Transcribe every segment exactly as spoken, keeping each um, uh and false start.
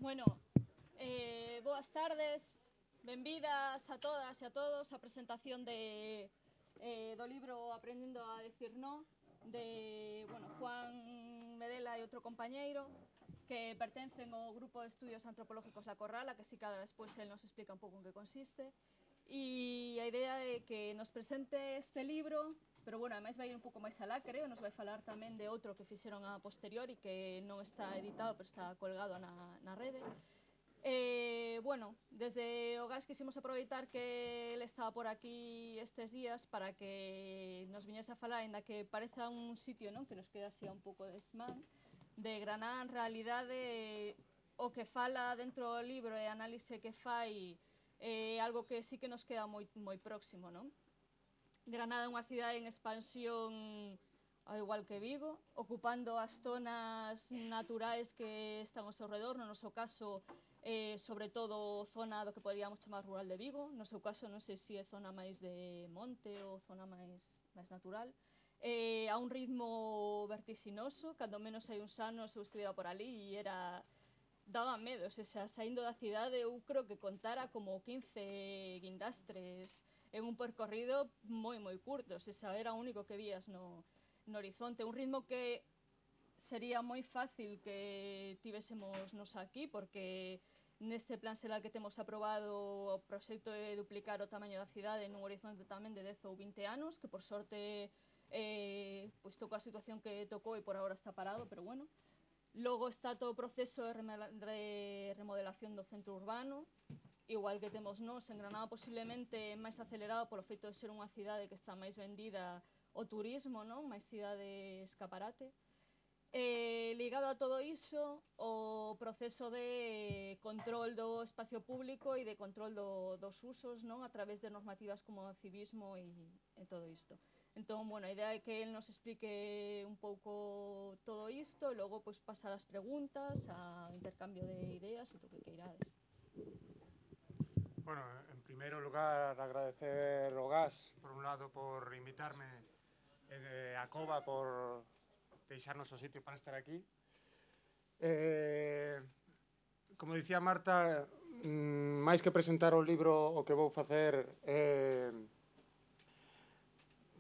Bueno, eh, boas tardes, benvidas a todas e a todos á presentación de, eh, do libro Aprendendo a decir no, de bueno, Juan Medela e outro compañeiro, que pertencen ao Grupo de Estudios Antropológicos La Corrala, que si cada despois el nos explica un pouco en que consiste. E a idea é que nos presente este libro, pero bueno, ademais vai ir un pouco máis alá, creo, nos vai falar tamén de outro que fixeron a posteriori, que non está editado, pero está colgado na, na rede. Eh, bueno, desde o GAS quisimos aproveitar que ele estaba por aquí estes días para que nos viñese a falar, ainda que pareza un sitio, non, que nos queda así un pouco desmán, de Granada en realidade o que fala dentro do libro e a análise que fai é algo que sí que nos queda moi, moi próximo, non? Granada é unha cidade en expansión ao igual que Vigo, ocupando as zonas naturais que están ao seu redor, no noso caso, eh, sobre todo zona do que poderíamos chamar rural de Vigo, no seu caso non sei se é zona máis de monte ou zona máis, máis natural, eh, a un ritmo vertiginoso, cando menos hai uns anos eu estivera por ali e era... daba medo, se xa saindo da cidade eu creo que contara como quince guindastres en un percorrido moi moi curto, se xa era o único que vías no, no horizonte, un ritmo que sería moi fácil que tivésemos nos aquí, porque neste plan xeral que temos aprobado o proxecto de duplicar o tamaño da cidade nun horizonte tamén de dez ou vinte anos, que por sorte eh, pois tocou a situación que tocou e por agora está parado, pero bueno. Logo está todo o proceso de remodelación do centro urbano, igual que temos nós en Granada, posiblemente máis acelerado polo feito de ser unha cidade que está máis vendida ao turismo, non? Máis cidade escaparate. Eh, ligado a todo iso, o proceso de control do espacio público e de control do, dos usos, non? A través de normativas como o civismo e, e todo isto. Entón, bueno, a idea é que él nos explique un pouco todo isto e logo pois, pasar as preguntas, ao intercambio de ideas e todo o que queirades. Bueno, en primeiro lugar, agradecer ao GAS, por un lado, por invitarme, eh, a Cova por deixarnos o sitio para estar aquí. Eh, como dicía Marta, mm, máis que presentar o libro, o que vou facer é... Eh,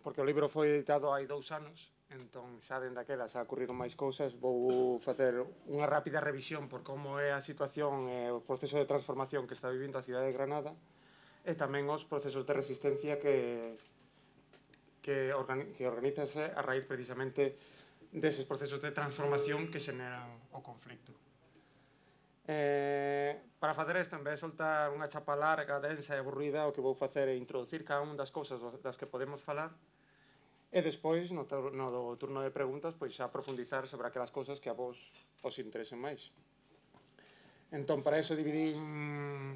porque o libro foi editado hai dous anos, entón xa dende aquela xa ocurriron máis cousas, vou facer unha rápida revisión por como é a situación e o proceso de transformación que está vivindo a cidade de Granada e tamén os procesos de resistencia que, que, organi que organízase a raíz precisamente deses procesos de transformación que xeneran o conflicto. Eh, para facer isto, en vez de soltar unha chapa larga, densa e aburrida, o que vou facer é introducir cada unha das cousas das que podemos falar e despois, no, no turno de preguntas, pois xa profundizar sobre aquelas cousas que a vos os interesen máis. Entón, para eso dividín...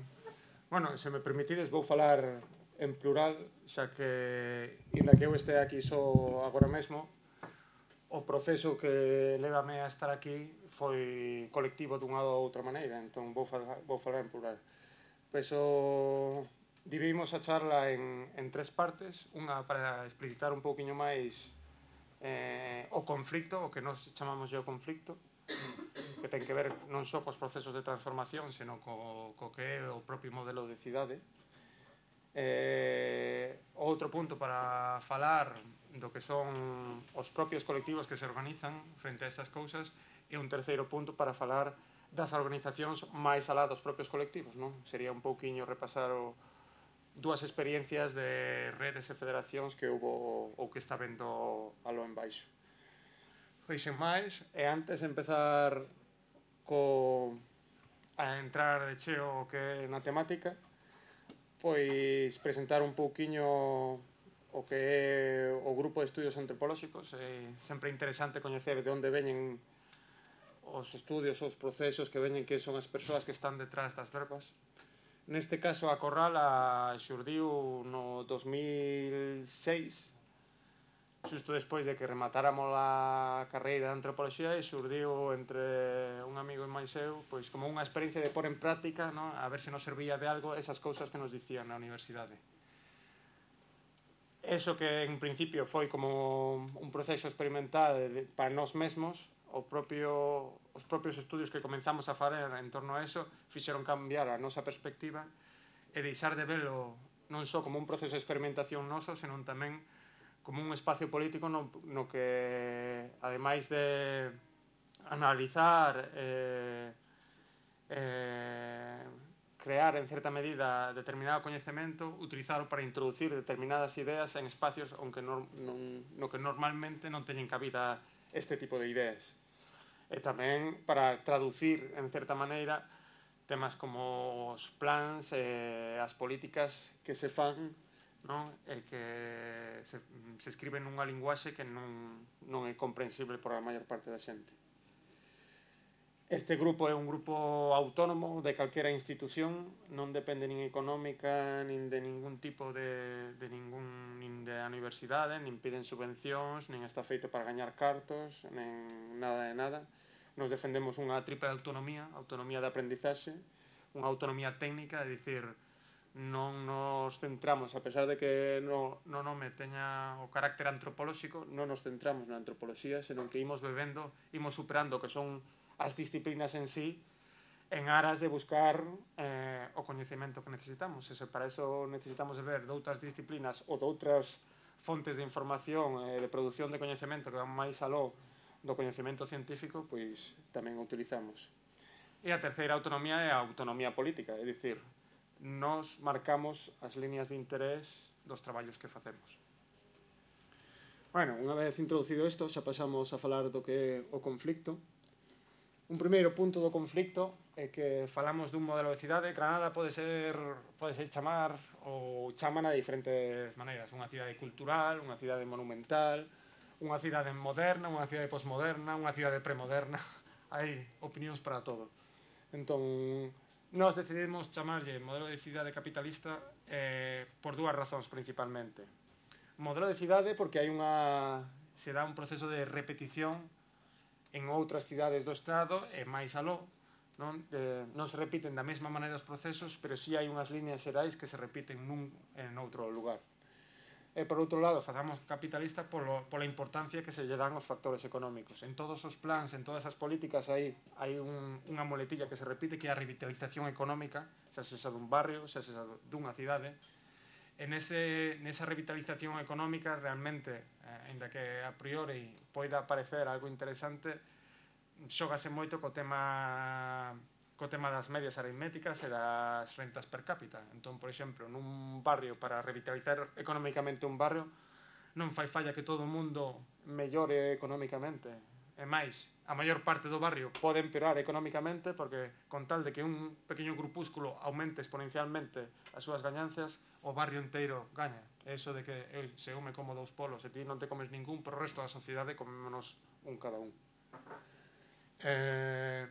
Bueno, se me permitides, vou falar en plural, xa que, inda que eu este aquí só agora mesmo, o proceso que levame a estar aquí foi colectivo dunha ou outra maneira, entón vou falar, vou falar en plural. Pois o... dividimos a charla en, en tres partes, unha para explicitar un pouquiño máis eh, o conflicto, o que nós chamamos o conflicto, que ten que ver non só cos procesos de transformación, senón co, co que é o propio modelo de cidade. Eh, outro punto para falar do que son os propios colectivos que se organizan frente a estas cousas e un terceiro punto para falar das organizacións máis alá dos propios colectivos, non? Sería un pouquiño repasar o, dúas experiencias de redes e federacións que hubo ou que está vendo alo en baixo. Pois sen máis, e antes de empezar co, a entrar de cheo o que é na temática, pois presentar un pouquiño o que é o Grupo de Estudios Antropolóxicos. É sempre interesante coñecer de onde veñen os estudios, os procesos que veñen, que son as persoas que están detrás das verbas. Neste caso, a Corrala xurdiu no dos mil seis, xusto despois de que rematáramos a carreira de antropoloxía, e xurdiu entre un amigo e máis eu, pois como unha experiencia de pôr en práctica, non? A ver se nos servía de algo esas cousas que nos dicían na universidade. Eso que en principio foi como un proceso experimental para nós mesmos, o propio, os propios estudios que comenzamos a fazer en torno a eso fixeron cambiar a nosa perspectiva e deixar de velo non só como un proceso de experimentación noso, senón tamén como un espacio político no, no que, ademais de analizar eh, eh, crear en certa medida determinado coñecemento, utilizarlo para introducir determinadas ideas en espacios onde non, non, no que normalmente non teñen cabida este tipo de ideas. E tamén para traducir, en certa maneira, temas como os plans e as políticas que se fan, non? E que se, se escriben nunha linguaxe que non, non é comprensible por a maior parte da xente. Este grupo é un grupo autónomo de calquera institución, non depende nin económica, nin de ningún tipo de, de ningún, nin de a universidade, nin piden subvencións, nin está feito para gañar cartos, nin nada de nada. Nos defendemos unha triple autonomía, autonomía de aprendizaxe, unha autonomía técnica, é dicir, non nos centramos, a pesar de que no, no nome teña o carácter antropolóxico, non nos centramos na antropoloxía, senón que imos bebendo, imos superando que son as disciplinas en sí, en aras de buscar eh, o coñecemento que necesitamos. E se para eso necesitamos de ver doutras disciplinas ou doutras fontes de información e eh, de produción de coñecemento que van máis aló do coñecemento científico, pois tamén o utilizamos. E a terceira autonomía é a autonomía política, é dicir, nos marcamos as líneas de interés dos traballos que facemos. Bueno, unha vez introducido isto, xa pasamos a falar do que é o conflicto. Un primeiro punto do conflicto é que falamos dun modelo de cidade. Granada pode ser, pode ser chamar ou chaman a diferentes maneiras. Unha cidade cultural, unha cidade monumental, unha cidade moderna, unha cidade posmoderna, unha cidade premoderna. Hai opinións para todo. Entón, nós decidimos chamarlle modelo de cidade capitalista eh, por dúas razóns principalmente. Modelo de cidade porque hai unha, se dá un proceso de repetición en outras cidades do Estado e máis aló, non, de, non se repiten da mesma maneira os procesos, pero si hai unhas líneas xerais que se repiten nun en outro lugar. E por outro lado, facamos capitalista polo, pola importancia que se lle dan os factores económicos. En todos os plans, en todas as políticas hai, hai un, unha moletilla que se repite, que é a revitalización económica, xa se xa dun barrio, xa se xa dunha cidade. En ese, nesa revitalización económica, realmente, eh, ainda que a priori poida parecer algo interesante, xógase moito co tema, co tema das medias aritméticas e das rentas per cápita. Entón, por exemplo, nun barrio, para revitalizar económicamente un barrio, non fai falla que todo o mundo mellore económicamente. E máis, a maior parte do barrio pode empeorar económicamente porque con tal de que un pequeno grupúsculo aumente exponencialmente as súas gañancias, o barrio inteiro gaña. E iso de que eu, se eu me como dous polos e ti non te comes ningún, pero o resto da sociedade comémonos un cada un. Eh,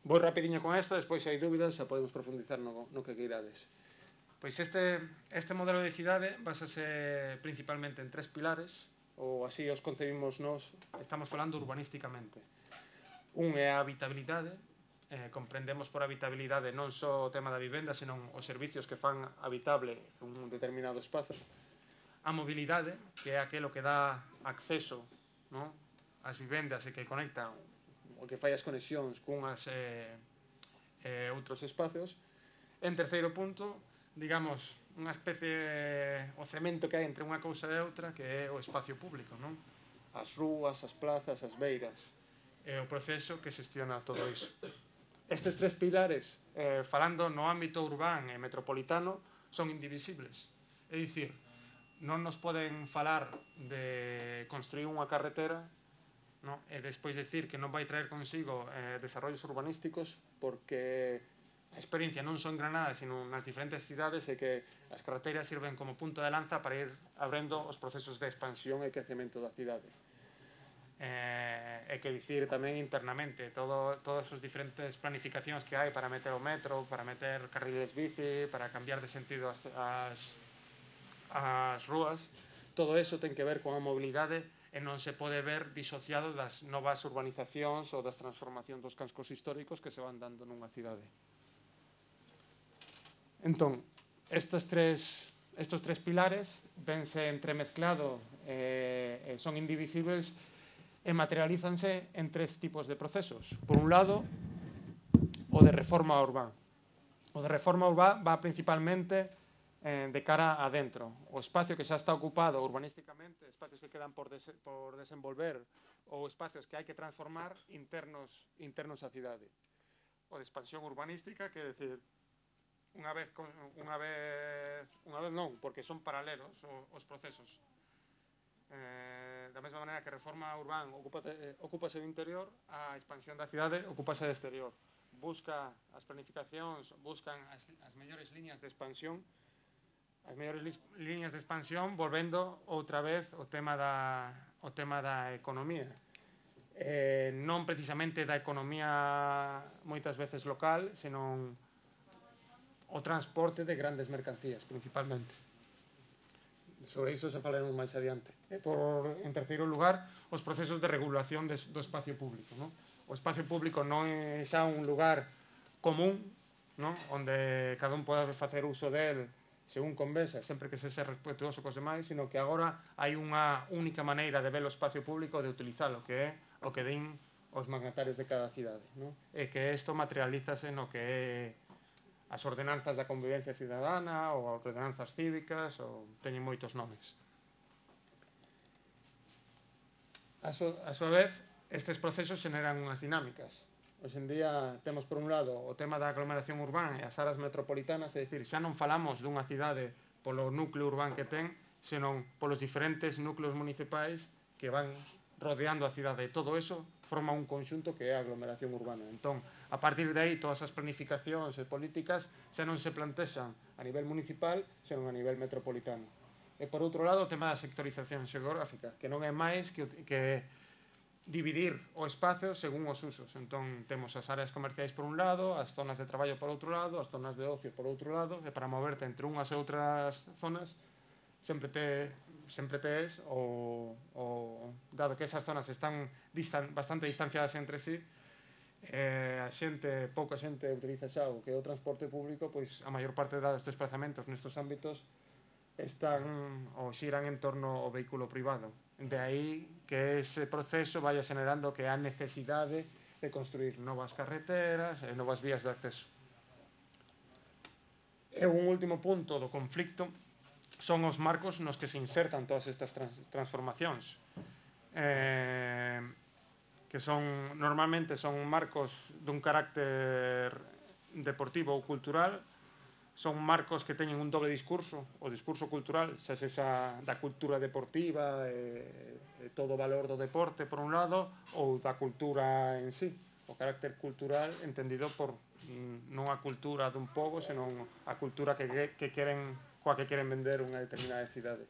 vou rapidiño con isto, despois se hai dúbidas xa podemos profundizar no, no que queirades. Pois este, este modelo de cidade basase principalmente en tres pilares, ou así os concebimos nós, estamos falando urbanísticamente. Un é a habitabilidade, eh, comprendemos por habitabilidade non só o tema da vivenda, senón os servicios que fan habitable un determinado espazo. A mobilidade, que é aquelo que dá acceso, non, ás vivendas e que conecta o que fai as conexións cunhas e eh, eh, outros espacios. En terceiro punto, digamos, unha especie, o cemento que hai entre unha cousa e outra, que é o espacio público, non? As rúas, as plazas, as beiras, e o proceso que xestiona todo iso. Estes tres pilares, eh, falando no ámbito urbán e metropolitano, son indivisibles. É dicir, non nos poden falar de construir unha carretera, no? E despois decir que non vai traer consigo eh, desarrollos urbanísticos porque a experiencia non só en Granada, sino nas diferentes cidades, é que as carreteras sirven como punto de lanza para ir abrindo os procesos de expansión e crecemento da cidade. Eh, e que dicir tamén internamente todo, todas as diferentes planificacións que hai para meter o metro, para meter carriles bici, para cambiar de sentido as, as, as rúas, todo eso ten que ver con a mobilidade e non se pode ver disociado das novas urbanizacións ou das transformacións dos cascos históricos que se van dando nunha cidade. Entón, estes tres, estes tres pilares vense entremezclado e eh, son indivisibles e materialízanse en tres tipos de procesos. Por un lado, o de reforma urbana. O de reforma urbana va principalmente eh, de cara adentro. O espacio que xa está ocupado urbanísticamente, espacios que quedan por, des por desenvolver ou espacios que hai que transformar internos, internos á cidade. O de expansión urbanística, que é dicir, unha vez, unha vez, unha vez non, porque son paralelos os procesos. Eh, da mesma maneira que a reforma urbana ocúpase, eh, ocúpase do interior, a expansión da cidade ocúpase do exterior. Busca as planificacións, buscan as, as mellores liñas de expansión, as mellores li, liñas de expansión, volvendo outra vez o tema da, o tema da economía. Eh, non precisamente da economía moitas veces local, senón o transporte de grandes mercancías, principalmente. Sobre iso se falaremos máis adiante. E por, en terceiro lugar, os procesos de regulación de, do espacio público. ¿No? O espacio público non é xa un lugar común, ¿no? Onde cada un pode facer uso del según convenza, sempre que se sea respetuoso cos demais, sino que agora hai unha única maneira de ver o espacio público, de utilizalo, que é o que din os magnatarios de cada cidade. ¿No? E que isto materialízase no que é as ordenanzas da convivencia cidadana ou as ordenanzas cívicas, ou teñen moitos nomes. A, so, a súa vez, estes procesos xeneran unhas dinámicas. Hoxe en día temos por un lado o tema da aglomeración urbana e as áreas metropolitanas, é dicir, xa non falamos dunha cidade polo núcleo urbano que ten, senón polos diferentes núcleos municipais que van rodeando a cidade. E todo eso forma un conxunto que é a aglomeración urbana. Entón, a partir de aí, todas as planificacións e políticas xa non se plantexan a nivel municipal, senón a nivel metropolitano. E, por outro lado, o tema da sectorización xeográfica, que non é máis que, que dividir o espacio según os usos. Entón, temos as áreas comerciais por un lado, as zonas de traballo por outro lado, as zonas de ocio por outro lado, e para moverte entre unhas e outras zonas, sempre te sempre tes o, o dado que esas zonas están distan, bastante distanciadas entre sí, eh, a xente, pouca xente utiliza xa o que é o transporte público, pois a maior parte dos desplazamentos nestes ámbitos están ou xiran en torno ao vehículo privado. De aí que ese proceso vaya generando que a necesidade de construir novas carreteras e novas vías de acceso. E un último punto do conflicto son os marcos nos que se insertan todas estas trans transformacións, eh, que son normalmente son marcos dun carácter deportivo ou cultural, son marcos que teñen un doble discurso, o discurso cultural, xa sexa da cultura deportiva e, e todo o valor do deporte por un lado, ou da cultura en sí, o carácter cultural entendido por non a cultura dun pobo, senón a cultura que, que queren coa que queren vender unha determinada cidade.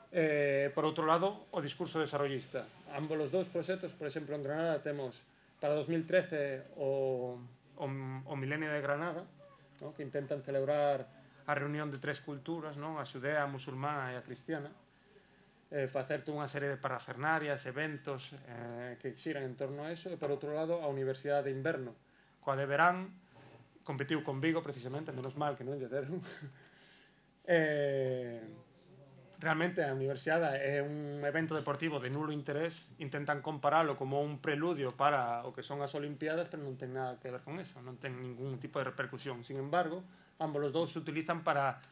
Eh, por outro lado, o discurso desarrollista. Ambos os dous proxectos, por exemplo, en Granada temos para dos mil trece o, o, o Milenio de Granada, ¿no? Que intentan celebrar a reunión de tres culturas, ¿no? A xudea, a musulmana e a cristiana, eh, facerte unha serie de parafernarias, eventos eh, que xiran en torno a eso, e por outro lado a Universidade de Inverno, coa de verán, competiu con Vigo precisamente, menos mal que non lle deron. Eh, realmente a universidade é un evento deportivo de nulo interés, intentan comparalo como un preludio para o que son as Olimpiadas, pero non ten nada que ver con eso, non ten ningún tipo de repercusión. Sin embargo, ambos os dous se utilizan para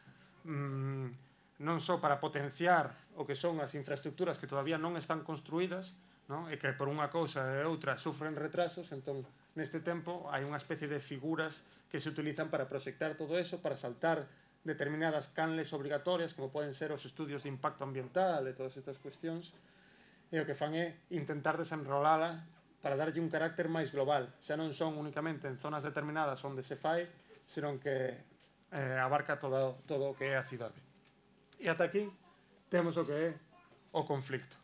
mmm, non só para potenciar o que son as infraestructuras que todavía non están construídas, ¿no? E que por unha cousa e outra sufren retrasos. Entón, neste tempo hai unha especie de figuras que se utilizan para proxectar todo eso, para saltar determinadas canles obrigatorias, como poden ser os estudios de impacto ambiental e todas estas cuestións, e o que fan é intentar desenrolala para darlle un carácter máis global. Xa non son únicamente en zonas determinadas onde se fai, senón que eh, abarca todo, todo o que é a cidade. E ata aquí temos o que é o conflicto.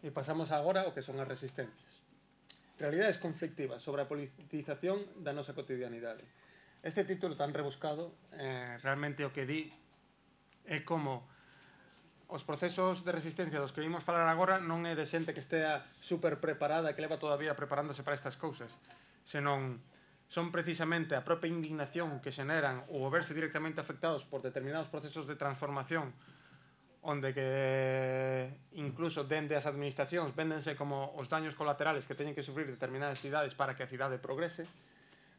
E pasamos agora ao que son as resistencias. Realidades conflictivas sobre a politización da nosa cotidianidade. Este título tan rebuscado eh, realmente o que di é como os procesos de resistencia dos que vimos falar agora non é de xente que estea super preparada, que leva toda a vida preparándose para estas cousas, senón son precisamente a propia indignación que xeneran ou verse directamente afectados por determinados procesos de transformación onde que incluso dende as administracións véndense como os daños colaterales que teñen que sufrir determinadas cidades para que a cidade progrese,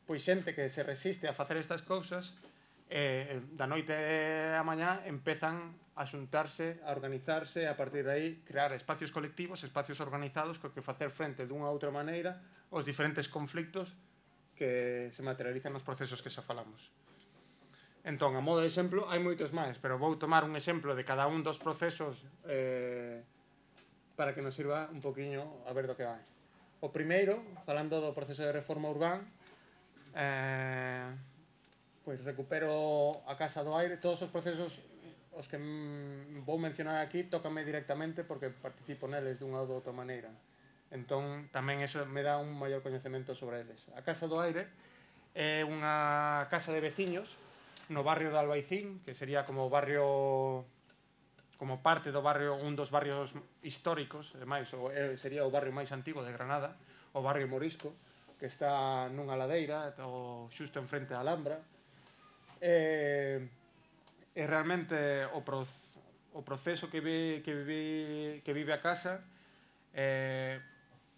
pois xente que se resiste a facer estas cousas eh, da noite a mañá empezan a xuntarse, a organizarse, a partir de aí crear espacios colectivos, espacios organizados co que facer frente dunha outra maneira aos diferentes conflictos que se materializan nos procesos que xa falamos. Entón, a modo de exemplo, hai moitos máis, pero vou tomar un exemplo de cada un dos procesos eh, para que nos sirva un poquinho a ver do que vai. O primeiro, falando do proceso de reforma urbán, eh, pois recupero a Casa do Aire. Todos os procesos os que vou mencionar aquí tócame directamente porque participo neles dunha ou de outra maneira. Entón, tamén eso me dá un maior coñecemento sobre eles. A Casa do Aire é unha casa de veciños no barrio de Albaicín, que sería como barrio, como parte do barrio, un dos barrios históricos, e máis, sería o barrio máis antigo de Granada, o barrio Morisco, que está nunha ladeira, o xusto enfrente da Alhambra. E, e realmente o, pro, o proceso que, vi, que, vive, que vive a casa é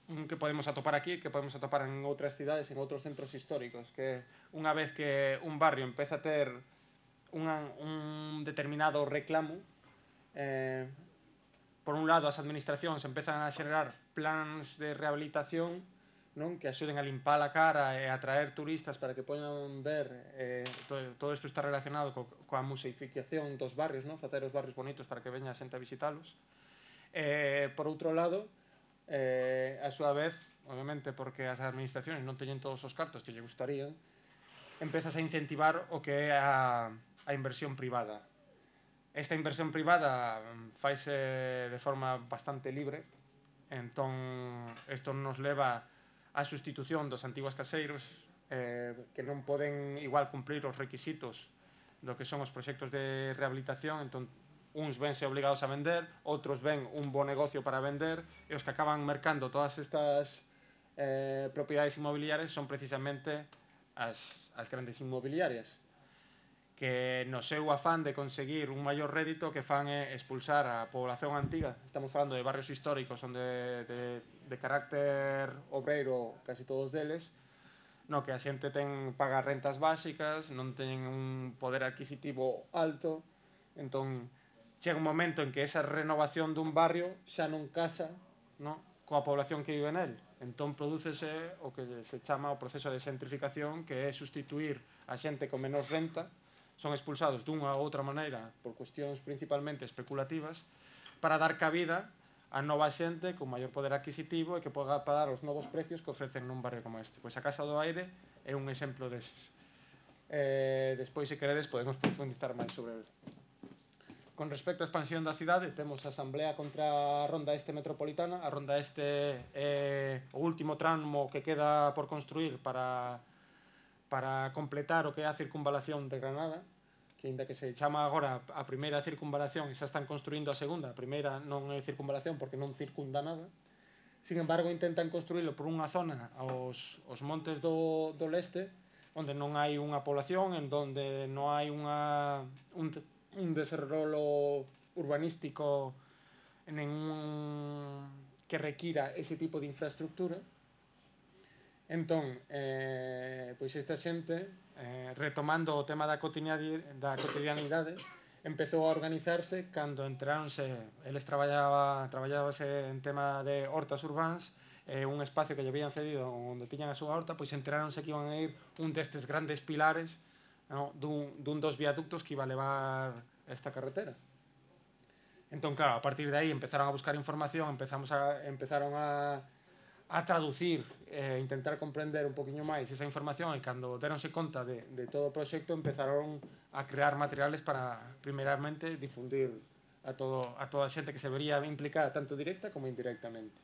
un que podemos atopar aquí, que podemos atopar en outras cidades, en outros centros históricos, que unha vez que un barrio empeza a ter unha, un determinado reclamo, eh, por un lado as administracións empezan a xenerar plans de rehabilitación, non, que axuden a limpar a cara e a atraer turistas para que poñan ver, eh, todo, todo isto está relacionado co, coa museificación dos barrios, non, facer os barrios bonitos para que veña a xente a visitalos. Eh, por outro lado, eh, a súa vez, obviamente porque as administracións non teñen todos os cartos que lle gustarían, empezas a incentivar o que é a, a inversión privada. Esta inversión privada faise de forma bastante libre, entón isto nos leva á sustitución dos antigos caseiros eh, que non poden igual cumplir os requisitos do que son os proxectos de rehabilitación, entón uns vense obligados a vender, outros ven un bo negocio para vender, e os que acaban mercando todas estas eh, propiedades inmobiliarias son precisamente as, as grandes inmobiliarias, que no seu afán de conseguir un maior rédito que fan é expulsar a población antiga. Estamos falando de barrios históricos onde de, de carácter obreiro casi todos deles, no que a xente ten paga rentas básicas, non teñen un poder adquisitivo alto, entón chega un momento en que esa renovación dun barrio xa non casa, no, coa población que vive nel. Entón prodúcese o que se chama o proceso de xentrificación, que é sustituir a xente con menos renta, son expulsados dunha ou outra maneira por cuestións principalmente especulativas, para dar cabida a nova xente con maior poder adquisitivo e que poda pagar os novos precios que ofrecen nun barrio como este. Pois a Casa do Aire é un exemplo deses. Eh, despois, se queredes, podemos profundizar máis sobre ele. Con respecto á expansión da cidade, temos a Asamblea contra a Ronda Este Metropolitana. A Ronda Este é o último tramo que queda por construir para, para completar o que é a circunvalación de Granada, que ainda que se chama agora a primeira circunvalación, xa están construindo a segunda. A primeira non é circunvalación porque non circunda nada. Sin embargo, intentan construílo por unha zona aos, aos montes do, do leste, onde non hai unha población, en donde non hai unha, un, un desarrollo urbanístico ningún que requira ese tipo de infraestructura. Entón, eh, pois esta xente, eh, retomando o tema da cotidianidade, empezou a organizarse cando entraronse, eles traballaba, traballábase en tema de hortas urbáns, eh, un espacio que lle habían cedido onde tiñan a súa horta, pois enteráronse que iban a ir un destes grandes pilares, no, dun, dun dos viaductos que iba a levar esta carretera. Entón, claro, a partir de aí empezaron a buscar información, empezamos a, empezaron a, a traducir, eh, intentar comprender un poquinho máis esa información, e cando deronse conta de, de todo o proxecto empezaron a crear materiales para, primeramente, difundir a, todo, a toda a xente que se vería implicada tanto directa como indirectamente.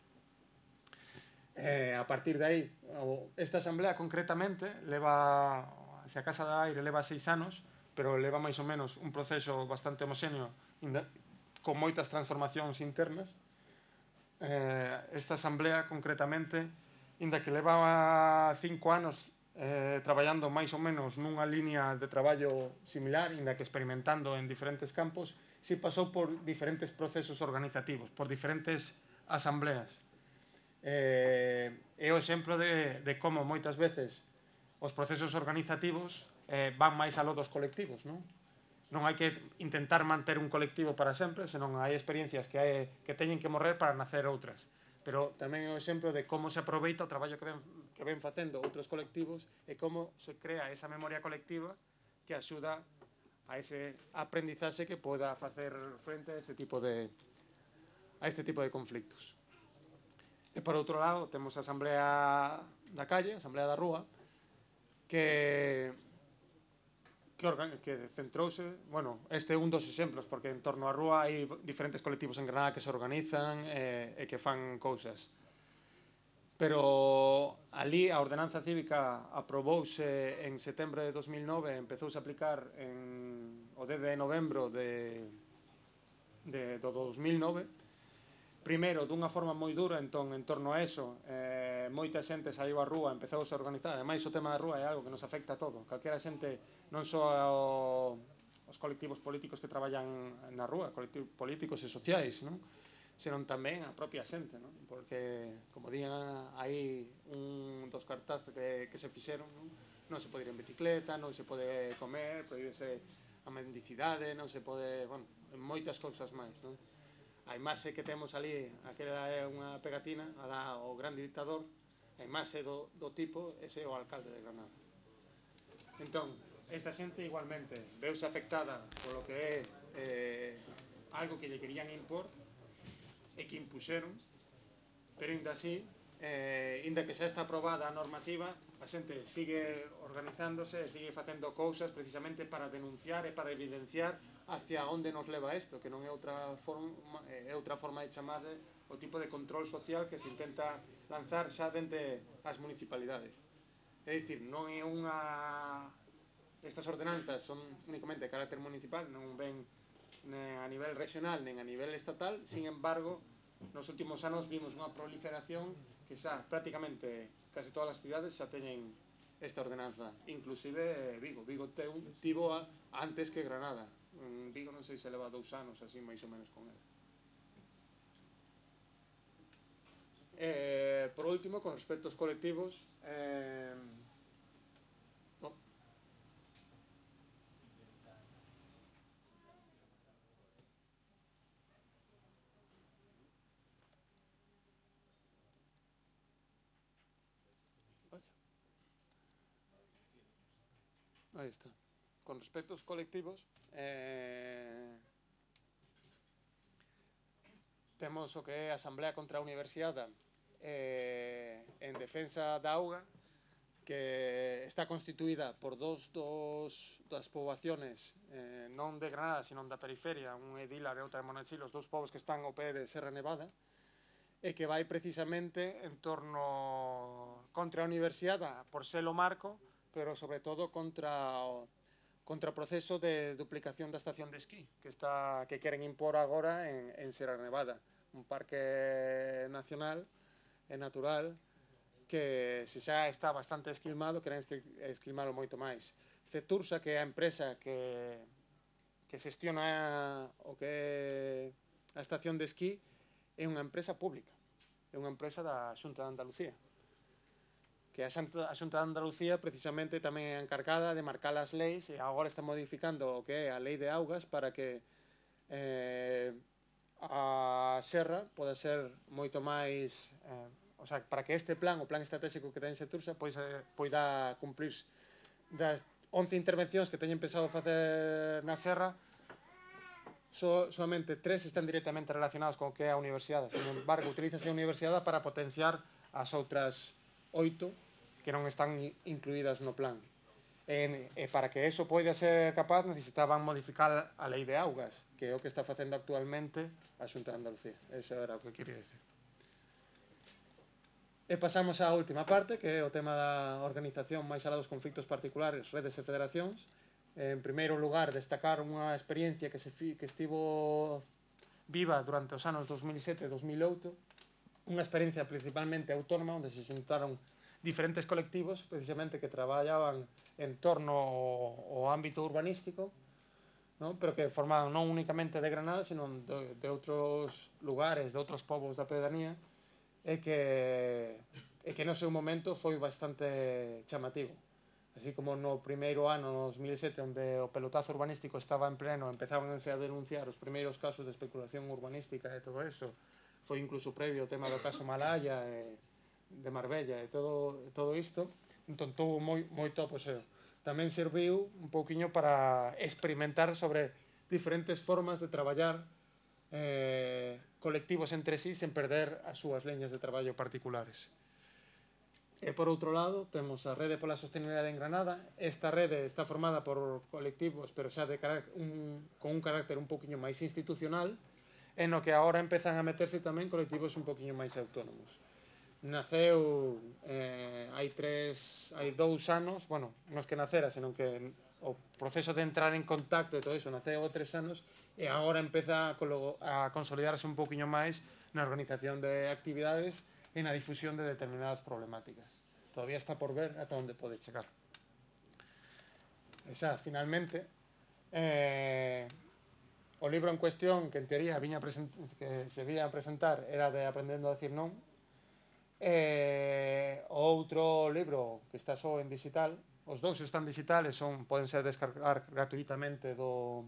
Eh, a partir de aí, esta asamblea concretamente leva, se a Casa do Aire leva seis anos, pero leva máis ou menos un proceso bastante homoxéneo con moitas transformacións internas. Eh, esta asamblea concretamente, inda que leva cinco anos eh, traballando máis ou menos nunha línea de traballo similar, inda que experimentando en diferentes campos, si pasou por diferentes procesos organizativos, por diferentes asambleas. Eh, é o exemplo de, de como moitas veces os procesos organizativos eh, van máis aló dos colectivos, non? Non hai que intentar manter un colectivo para sempre, senón hai experiencias que, hai, que teñen que morrer para nacer outras. Pero tamén é o exemplo de como se aproveita o traballo que ven, que ven facendo outros colectivos e como se crea esa memoria colectiva que axuda a ese aprendizaxe que poda facer frente a este tipo de, a este tipo de conflictos. E por outro lado, temos a Asamblea da Calle, a Asamblea da Rúa, que que, que centrouse, bueno, este é un dos exemplos, porque en torno á rúa hai diferentes colectivos en Granada que se organizan e, e que fan cousas. Pero ali a ordenanza cívica aprobouse en setembro de dos mil nove e empezouse a aplicar en, o dez de novembro de, de, do dos mil nove. Primeiro, dunha forma moi dura, entón, en torno a eso, eh, moita xente saiu á rúa, empezou a organizar. Ademais, o tema da rúa é algo que nos afecta a todo. Calquera xente, non só ao, os colectivos políticos que traballan na rúa, colectivos políticos e sociais, non? Senón tamén a propia xente, non? Porque, como digan, hai un dos cartazos que, que se fixeron, non? Non se pode ir en bicicleta, non se pode comer, prohibirse a mendicidade, non se pode, bueno, moitas cousas máis, non? A imaxe que temos ali, aquela é unha pegatina, a da, o grande dictador, a imaxe do, do tipo, ese é o alcalde de Granada. Entón, esta xente igualmente veuse afectada polo que é eh, algo que lle querían impor e que impuxeron, pero ainda así, eh, ainda que xa está aprobada a normativa, a xente sigue organizándose e sigue facendo cousas precisamente para denunciar e para evidenciar hacia onde nos leva isto, que non é outra forma, é outra forma de chamar o tipo de control social que se intenta lanzar xa dende as municipalidades. É dicir, non é unha... Estas ordenanzas son únicamente de carácter municipal, non ven nen a nivel regional nen a nivel estatal, sin embargo, nos últimos anos vimos unha proliferación que xa prácticamente case todas as cidades xa teñen esta ordenanza, inclusive Vigo. Vigo tivo antes que Granada. En Vigo non sei se leva dous anos así máis ou menos con ela. Eh, por último, con respecto aos colectivos, eh, no. Aí está. Con respecto aos colectivos, eh, temos o que é a Asamblea contra a Universidade eh, en defensa da auga, que está constituída por dos, dos das poboaciones eh, non de Granada, sino da periferia, un é Dilar e outra é Monachil, os dous povos que están ao pé de Serra Nevada, e que vai precisamente en torno contra a Universidade por ser o marco, pero sobre todo contra o contra o proceso de duplicación da estación de esquí que, está, que queren impor agora en, en Serra Nevada, un parque nacional e natural que se xa está bastante esquilmado, queren esquilmalo moito máis. Cetursa, que é a empresa que, que xestiona o que é a estación de esquí, é unha empresa pública, é unha empresa da Xunta de Andalucía, que a Xunta de Andalucía precisamente tamén é encargada de marcar as leis e agora está modificando o que é a lei de augas para que eh, a serra poda ser moito máis eh, o sea, para que este plan, o plan estratégico que ten Xetursa poida, poida cumplir das once intervencións que teñen pensado facer na serra, so, solamente tres están directamente relacionadas con o que é a universidade. Sin embargo, utilízase a universidade para potenciar as outras oito que non están incluídas no plan. E, e para que eso poida ser capaz necesitaban modificar a lei de augas, que é o que está facendo actualmente a Xunta de Andalucía. Eso era o que quería decir. E pasamos á última parte, que é o tema da organización máis alá dos conflictos particulares, redes e federacións. En primeiro lugar, destacar unha experiencia que, se fi, que estivo viva durante os anos dos mil sete e dos mil oito, unha experiencia principalmente autónoma, onde se xuntaron diferentes colectivos precisamente que traballaban en torno ao, ao ámbito urbanístico, ¿no? Pero que formaban non únicamente de Granada, sino de, de outros lugares, de outros povos da pedanía, e que, e que no seu momento foi bastante chamativo. Así como no primeiro ano, no dos mil sete, onde o pelotazo urbanístico estaba en pleno, empezaban a denunciar os primeiros casos de especulación urbanística e todo eso, foi incluso previo o tema do caso Malaya e de Marbella e todo, todo isto, entón tuvo moi, moito aposeo. Tamén serviu un pouquiño para experimentar sobre diferentes formas de traballar eh, colectivos entre sí sen perder as súas leñas de traballo particulares. E por outro lado, temos a Rede pola Sostenibilidade en Granada. Esta rede está formada por colectivos, pero xa de un, con un carácter un pouquiño máis institucional, en o que agora empezan a meterse tamén colectivos un pouquiño máis autónomos. Naceu eh, hai tres, hai dous anos, bueno, non é que nacera, senón que o proceso de entrar en contacto e todo iso naceu há tres anos e agora empeza a, a consolidarse un pouquiño máis na organización de actividades e na difusión de determinadas problemáticas. Todavía está por ver ata onde pode chegar. E xa, finalmente, eh, o libro en cuestión que en teoría viña que se vía a presentar era de Aprendendo a decir non. E o outro libro que está só en digital, os dous están digitales, son, poden ser descargar gratuitamente do,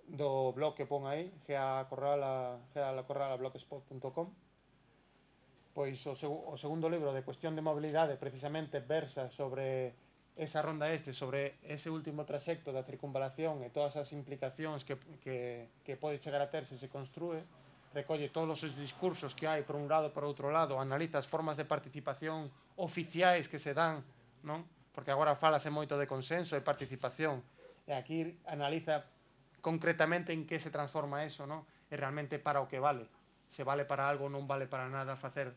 do blog que pon aí, gealacorrala blogspot punto com. Pois o, seg o segundo libro de Cuestión de Mobilidade precisamente versa sobre esa ronda este, sobre ese último trasecto da circunvalación e todas as implicacións que, que, que pode chegar a ter se se construe, recolle todos os discursos que hai por un lado e por outro lado, analiza as formas de participación oficiais que se dan, non? Porque agora falase moito de consenso e participación, e aquí analiza concretamente en que se transforma eso, non? E realmente para o que vale. Se vale para algo, non vale para nada facer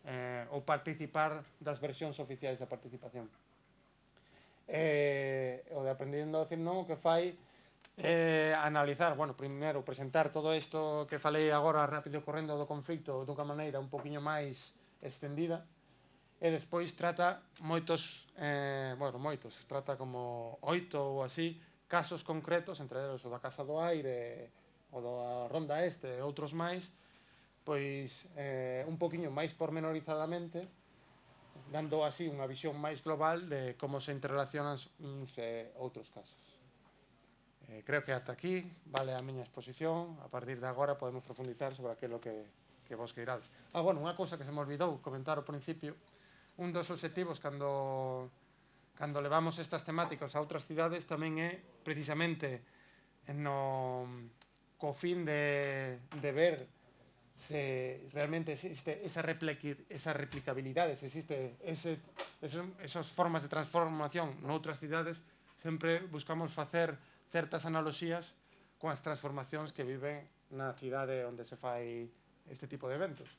eh, ou participar das versións oficiais da participación. Eh, o de Aprendendo a decir non, o que fai eh, analizar, bueno, primeiro presentar todo isto que falei agora rápido correndo do conflito dunha maneira un poquinho máis extendida e despois trata moitos eh, bueno, moitos, trata como oito ou así casos concretos, entre eles o da Casa do Aire, o da Ronda Este e outros máis, pois eh, un poquinho máis pormenorizadamente, dando así unha visión máis global de como se interrelacionan uns e outros casos. Eh, creo que ata aquí vale a miña exposición. A partir de agora podemos profundizar sobre aquilo que, que vos queirades. Ah, bueno, unha cousa que se me olvidou comentar ao principio, un dos objetivos cando, cando levamos estas temáticas a outras cidades tamén é precisamente no, co fin de, de ver se realmente existe esa, esa replicabilidade, se existe ese, esos, esas formas de transformación noutras cidades. Sempre buscamos facer certas analoxías con as transformacións que viven na cidade onde se fai este tipo de eventos.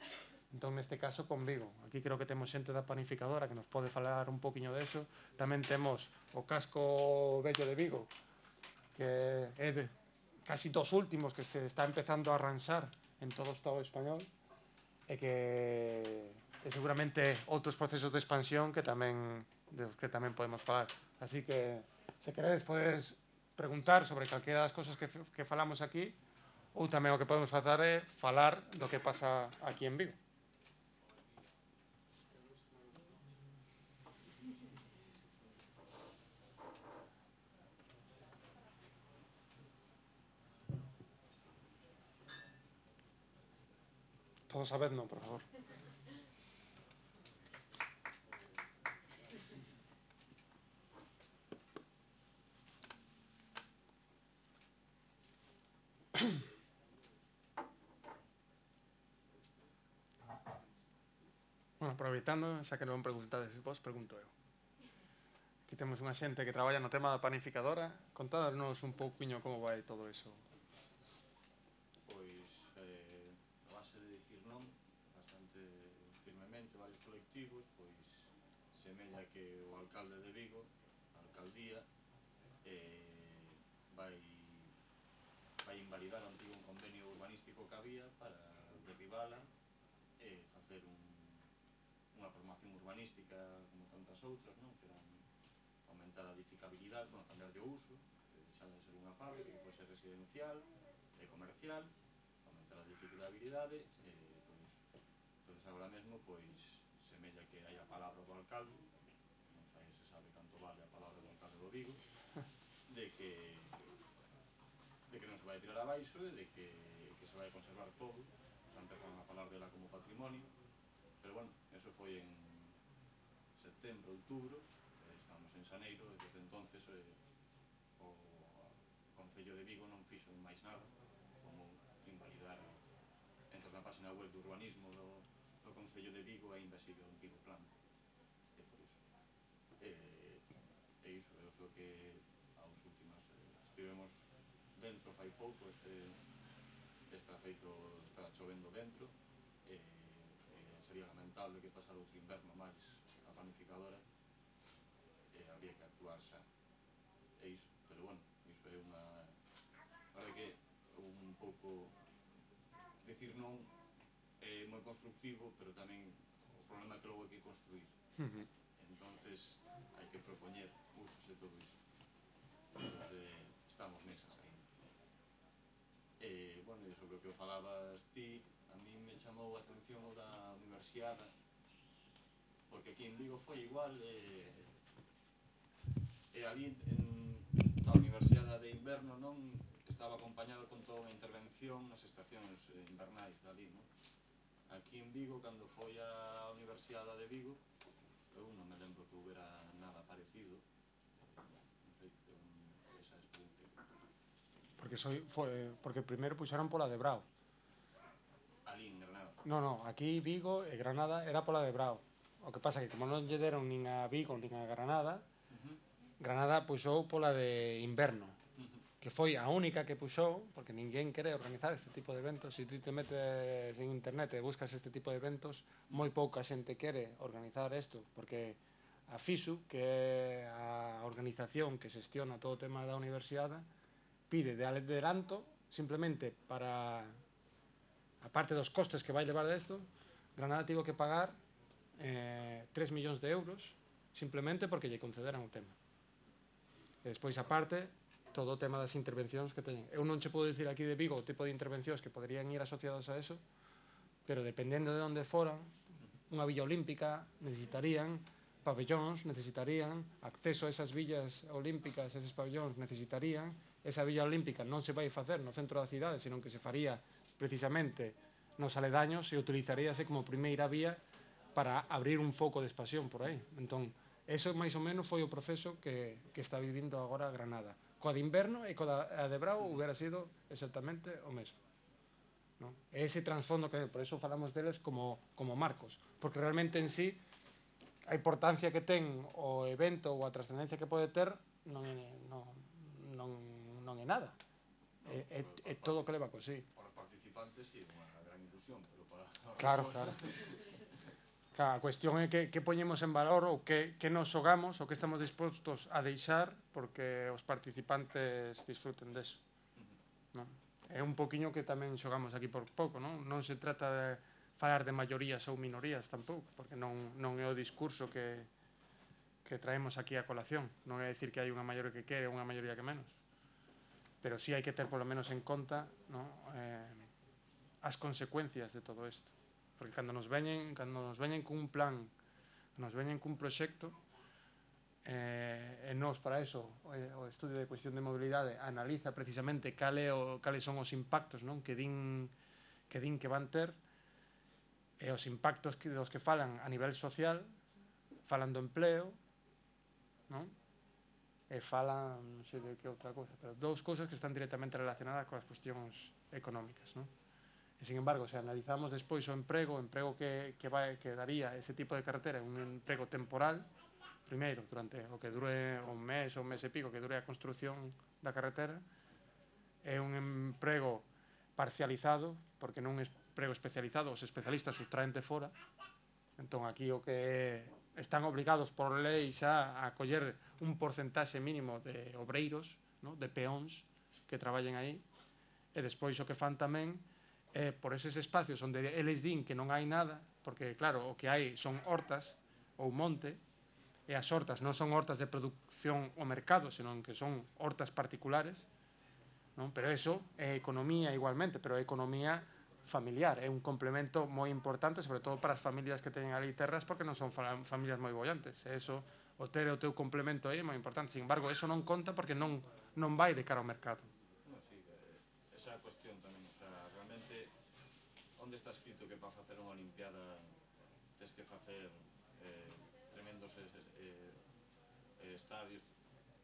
Entón, neste caso, con Vigo. Aquí creo que temos xente da panificadora que nos pode falar un poquinho deso. Tamén temos o casco vello de Vigo, que é de, casi dos últimos que se está empezando a arranxar en todo o Estado español e que e seguramente outros procesos de expansión que tamén de que tamén podemos falar. Así que, se queredes, podedes preguntar sobre calquera das cosas que, que falamos aquí, ou tamén o que podemos facer é falar do que pasa aquí en Vigo. Todos a vez non, por favor. Bueno, aproveitando, xa que non preguntades vos, pregunto eu. Aquí temos unha xente que traballa no tema da panificadora. Contádanos un pouquiño como vai todo iso. Pois, eh, a base de dicir non, bastante firmemente, varios colectivos, pois semella que o alcalde de Vigo, a alcaldía, eh, vai, vai invalidar o antigo convenio urbanístico que había para derribala e facer un, unha formación urbanística como tantas outras, non? Que eran aumentar a edificabilidade, bueno, cambiar de uso, que deixara de ser unha fábrica, que fose residencial e comercial, aumentar a edificabilidade, e, pois, entonces agora mesmo, pois, semella que hai a palabra do alcalde, non sei se sabe canto vale a palabra do alcalde do Vigo, de que de que non se vai tirar abaixo e de que, que se vai conservar todo. Xa empezaron a falar dela como patrimonio, pero bueno, eso foi en setembro, outubro, estamos en xaneiro, e desde entonces eh, o Concello de Vigo non fixo máis nada, como invalidar. Entras na página web do urbanismo do, do Concello de Vigo e ainda sigue o antigo plan, e por iso. E, e iso, é o so que aos últimas eh, estivemos dentro fai pouco, este está feito, está chovendo dentro, e, e sería lamentable que pasara outro inverno máis a panificadora, e habría que actuar xa, e iso, pero bueno, iso é unha, a verdade que un pouco decir non é moi constructivo, pero tamén o problema é que logo hai que construir, entonces hai que propoñer usos e todo iso, entonces eh, estamos nesas aí. E, bueno, sobre o que falabas ti, a mí me chamou a atención o da universidade, porque aquí en Vigo foi igual, e, e ali en, na universidade de inverno non estaba acompañado con toda unha intervención nas estacións invernais dali, non? Aquí en Vigo, cando foi a Universidade de Vigo, eu non me lembro que houbera nada parecido, non sei, esa experiencia. Porque soy, foi, porque primeiro puxeron pola de Brao. Ali en Granada. No, no, aquí Vigo e Granada era pola de Brao. O que pasa que como non lle deron nin a Vigo nin a Granada, Uh-huh. Granada puxou pola de inverno, Uh-huh. que foi a única que puxou, porque ninguén quere organizar este tipo de eventos. Se ti te metes en internet e buscas este tipo de eventos, moi pouca xente quere organizar isto, porque a FISU, que é a organización que xestiona todo o tema da universidade, pide de adelanto, simplemente para, a parte dos costes que vai levar desto, Granada tivo que pagar eh, tres millóns de euros, simplemente porque lle concederan o tema. E despois, aparte, todo o tema das intervencións que teñen. Eu non che podo dicir aquí de Vigo o tipo de intervencións que poderían ir asociadas a eso, pero dependendo de onde foran, unha villa olímpica necesitarían pabellóns, necesitarían acceso a esas villas olímpicas, eses pabellóns necesitarían, esa villa olímpica non se vai facer no centro da cidade, senón que se faría precisamente nos aledaños e utilizaríase como primeira vía para abrir un foco de expansión por aí. Entón, eso máis ou menos foi o proceso que, que está vivindo agora Granada. Coa de inverno e coa de Brao hubiera sido exactamente o mesmo, ¿no? Ese trasfondo que, por eso falamos deles como, como marcos, porque realmente en sí a importancia que ten o evento ou a trascendencia que pode ter non é, non, non, non é nada, é, é, é todo o que leva con sí. Para os participantes sí, unha gran ilusión, pero para... Claro, claro. Claro, a cuestión é que, que poñemos en valor ou que, que nos xogamos ou que estamos dispostos a deixar porque os participantes disfruten deso, non? É un poquinho que tamén xogamos aquí por pouco, non? Non se trata de falar de maiorías ou minorías tampouco, porque non, non é o discurso que, que traemos aquí a colación, non é dicir que hai unha maioría que quere ou unha maioría que menos, pero sí hai que ter polo menos en conta, non? Eh, as consecuencias de todo isto, porque cando nos veñen, cando nos veñen cun plan, nos veñen cun proxecto, eh, e nos para eso o, o estudio de cuestión de mobilidade analiza precisamente cale o, cales son os impactos, non? Que din que din que van ter, e os impactos que, dos que falan a nivel social, falan do empleo, non? E falan, non sei de que outra cosa, pero dous cousas que están directamente relacionadas coas cuestións económicas, non? E, sin embargo, se analizamos despois o emprego, o emprego que, que, vai, que daría ese tipo de carretera, un emprego temporal, primeiro, durante o que dure un mes ou un mes e pico que dure a construción da carretera, é un emprego parcializado, porque non é emprego especializado, os especialistas os traen de fora, entón aquí o que están obligados por lei xa a coller un porcentaxe mínimo de obreiros, no? De peóns que traballen aí, e despois o que fan tamén eh, por eses espacios onde eles din que non hai nada, porque claro, o que hai son hortas ou monte, e as hortas non son hortas de producción ao mercado, senón que son hortas particulares, non? Pero eso é economía igualmente, pero é economía familiar, é un complemento moi importante, sobre todo para as familias que teñen ali terras, porque non son familias moi bollantes, e eso, o ter o teu complemento aí é moi importante. Sin embargo, eso non conta porque non, non vai de cara ao mercado. No, sí, esa cuestión tamén, o sea, realmente, onde está escrito que para facer unha olimpiada tens que facer eh, tremendos eh, eh, estadios,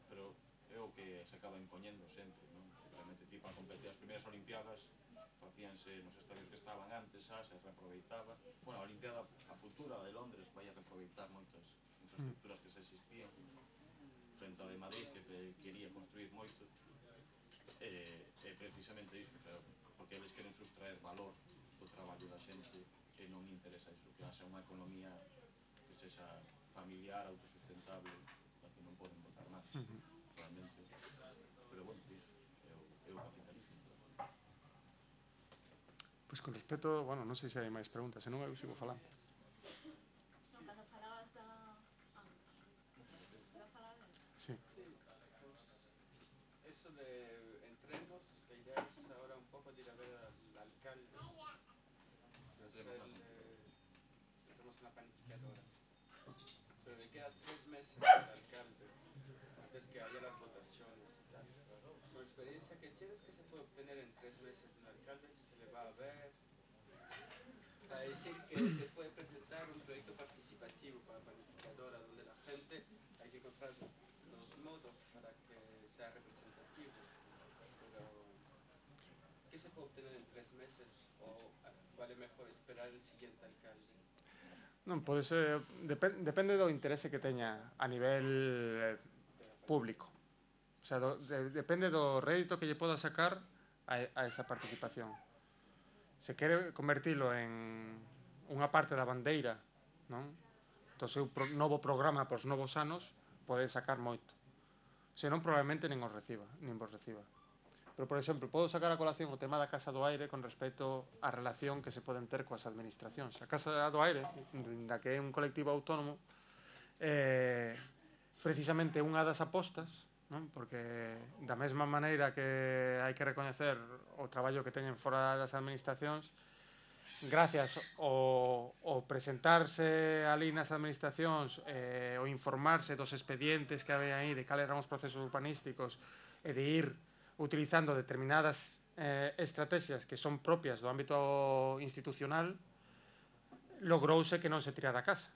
pero é o que se acaba impoñendo sempre, non? Realmente, ti, para competir as primeiras olimpiadas facíanse nos estadios que estaban antes, xa se reaproveitaba. Bueno, a olimpiada a futura de Londres vai a reaproveitar moitas infraestructuras que se existían frente ao de Madrid, que quería construir moito, e, e precisamente iso, o sea, porque eles queren sustraer valor do traballo da xente e non interesa iso, que haxa unha economía que sexa familiar, autosustentable, a que non poden botar máis, realmente. Pero bueno, iso é o capitalismo. Pois con respecto, bueno, non sei se hai máis preguntas, senón eu sigo falando. Non, cando falabas da... Ah, para falar ben? Sí. Eso de entrenos, que ya es ahora un poco de ir a ver al alcalde, de hacerle, entramos en la planificadora, pero le queda tres meses al alcalde, antes que haya las votaciones y tal. Por experiencia que tienes, que se puede obtener en tres meses de un alcalde, si se le va a ver, a decir que se puede presentar un proyecto participativo para la planificadora, donde la gente hay que encontrar los modos para que sea representativo. Pero, ¿qué se puede obtener en tres meses? ¿O vale mejor esperar el siguiente alcalde? Non, pode ser, depende, depende do interese que teña a nivel público. O sea, do, de, depende do rédito que lle poda sacar a, a esa participación. Se quere convertilo en unha parte da bandeira, non? Do seu pro, novo programa pos novos anos, pode sacar moito. Senón, probablemente nin os reciba, nin vos reciba. Pero, por exemplo, podo sacar a colación o tema da Casa do Aire con respecto á relación que se poden ter coas administracións. A Casa do Aire, da que é un colectivo autónomo, eh, precisamente unha das apostas, non? Porque da mesma maneira que hai que recoñecer o traballo que teñen fora das administracións, gracias ao, ao presentarse ali nas administracións, eh, o informarse dos expedientes que había aí, de cal eran os procesos urbanísticos, e de ir utilizando determinadas eh, estrategias que son propias do ámbito institucional, logrouse que non se tirara a casa.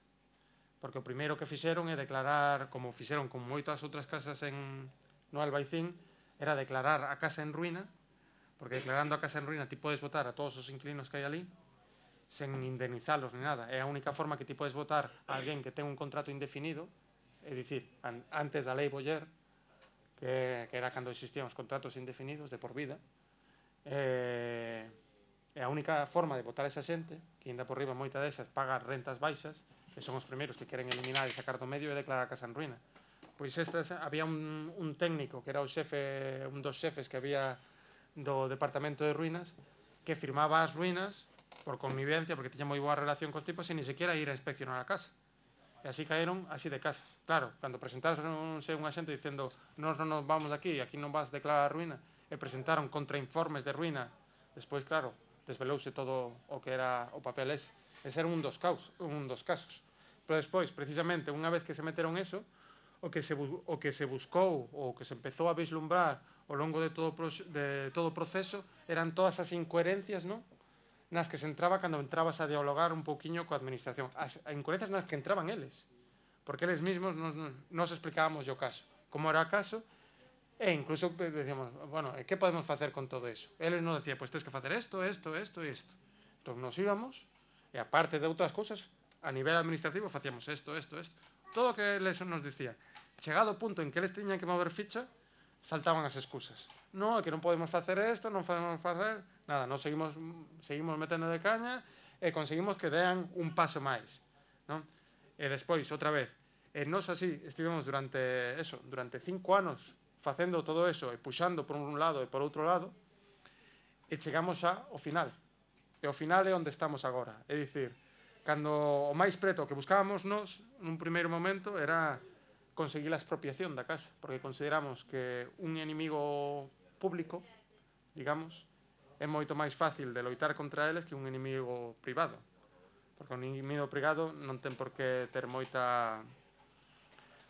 Porque o primeiro que fixeron é declarar, como fixeron con moitas outras casas en, no Albaicín, era declarar a casa en ruína, porque declarando a casa en ruína ti podes votar a todos os inquilinos que hai ali, sen indemnizalos ni nada. É a única forma que ti podes votar a alguén que ten un contrato indefinido, é dicir, an, antes da lei Boyer, que, que era cando existían os contratos indefinidos de por vida, eh, é a única forma de votar a esa xente, que ainda por riba moita desas paga rentas baixas, que son os primeiros que queren eliminar e sacar do medio e declarar a casa en ruína. Pois estas, había un, un técnico que era o xefe, un dos xefes que había do departamento de ruínas, que firmaba as ruínas por connivencia, porque tiña moi boa relación cos tipos, e ni sequera ir a inspeccionar a casa. E así caeron así de casas. Claro, cando presentaronse unha xente dicendo nos non nos vamos de aquí, aquí non vas a declarar a ruína, e presentaron contrainformes de ruína, despois, claro, desvelouse todo o que era o papel ese. Ese era un dos, caos, un dos casos. Pero despois, precisamente, unha vez que se meteron eso, o que se, o que se buscou, o que se empezou a vislumbrar ao longo de todo, de todo o proceso, eran todas as incoherencias, non? Nas que se entraba cando entrabas a dialogar un pouquiño coa administración. As incoherencias nas que entraban eles. Porque eles mesmos nos, nos explicábamos o caso. Como era o caso, e incluso decíamos, bueno, que podemos facer con todo eso? Eles nos decían, pois pues, tens que facer isto, isto, isto e isto. Entón nos íbamos, e aparte de outras cousas, a nivel administrativo facíamos isto, isto, isto. Todo o que eles nos dicían. Chegado o punto en que eles teñan que mover ficha, saltaban as excusas. Non, é que non podemos facer isto, non podemos facer... Nada, nos seguimos, seguimos metendo de caña e conseguimos que dean un paso máis, non? E despois, outra vez, e nos así estivemos durante eso, durante cinco anos facendo todo eso e puxando por un lado e por outro lado, e chegamos xa ao final. e ao final é onde estamos agora. É dicir, cando o máis preto que buscábamos nos, nun primeiro momento, era conseguir a expropiación da casa, porque consideramos que un inimigo público, digamos, é moito máis fácil de loitar contra eles que un inimigo privado, porque un inimigo privado non ten por que ter moita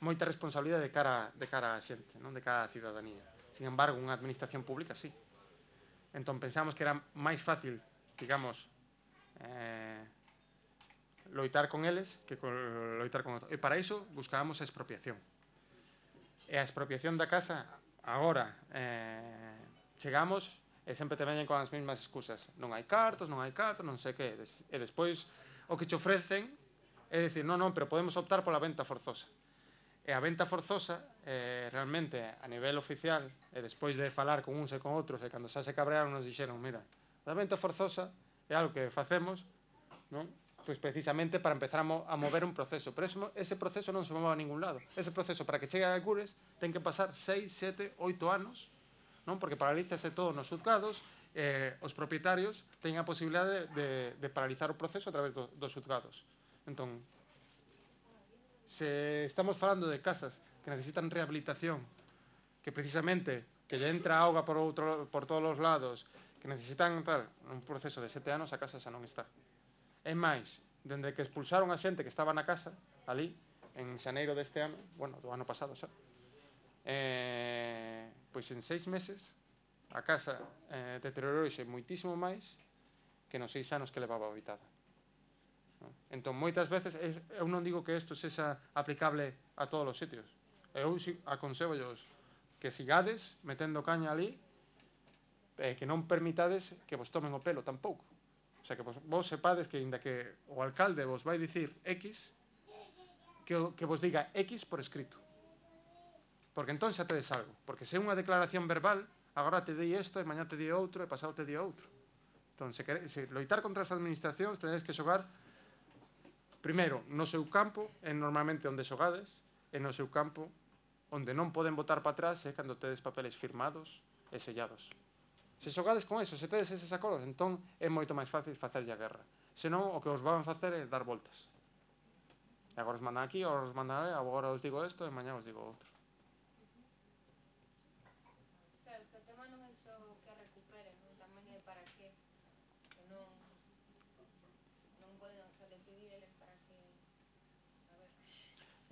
moita responsabilidade de cara, de cara á xente, non de cara á cidadanía. Sin embargo, unha administración pública sí. Entón pensamos que era máis fácil, digamos, eh, loitar con eles que loitar con outros. E para iso buscábamos a expropiación. E a expropiación da casa, agora, eh, chegamos e sempre te veñen con as mesmas excusas. Non hai cartos, non hai cartos, non sei que. E despois o que te ofrecen é dicir, non, non, pero podemos optar pola venta forzosa. E a venta forzosa, eh, realmente, a nivel oficial, e despois de falar con uns e con outros, e cando xa se cabrearon, nos dixeron, mira, a venta forzosa é algo que facemos, non? Pois precisamente para empezar a, mo a mover un proceso. Pero ese, ese proceso non se move a ningún lado. Ese proceso, para que chegue a Algures, ten que pasar seis, sete, oito anos, non? Porque paralízase todo nos juzgados, eh, os propietarios teñen a posibilidade de, de, de paralizar o proceso a través do, dos juzgados. Entón, se estamos falando de casas que necesitan rehabilitación, que precisamente que lle entra auga por, outro, por todos os lados, que necesitan tal, un proceso de sete anos, a casa xa non está. É máis, dende que expulsaron a xente que estaba na casa, ali, en xaneiro deste ano, bueno, do ano pasado xa, eh, pois en seis meses a casa eh, deteriorouse moitísimo máis que nos seis anos que levaba habitada. Entón, moitas veces, eu non digo que isto sexa aplicable a todos os sitios. Eu aconsello-os que sigades metendo caña ali, e que non permitades que vos tomen o pelo tampouco. O sea, que vos, vos sepades que, inda que o alcalde vos vai dicir X, que, que vos diga X por escrito. Porque entón xa tedes algo. Porque se é unha declaración verbal, agora te di isto, e mañá te di outro, e pasado te di outro. Entón, se, quere, se loitar contra as administracións, tenéis que xogar primeiro, no seu campo, é normalmente onde xogades, e no seu campo, onde non poden botar para atrás, é cando tedes papeles firmados e sellados. Se xogades con eso, se tedes eses acordos, entón é moito máis fácil facerlle a guerra. Senón, o que os van facer é dar voltas. E agora os mandan aquí, agora os mandan ali, agora os digo isto, e mañá os digo outro. Claro, que o tema non é só que recuperen, non? Tamén é para que, que non, non poden só decidir eles para que, a ver.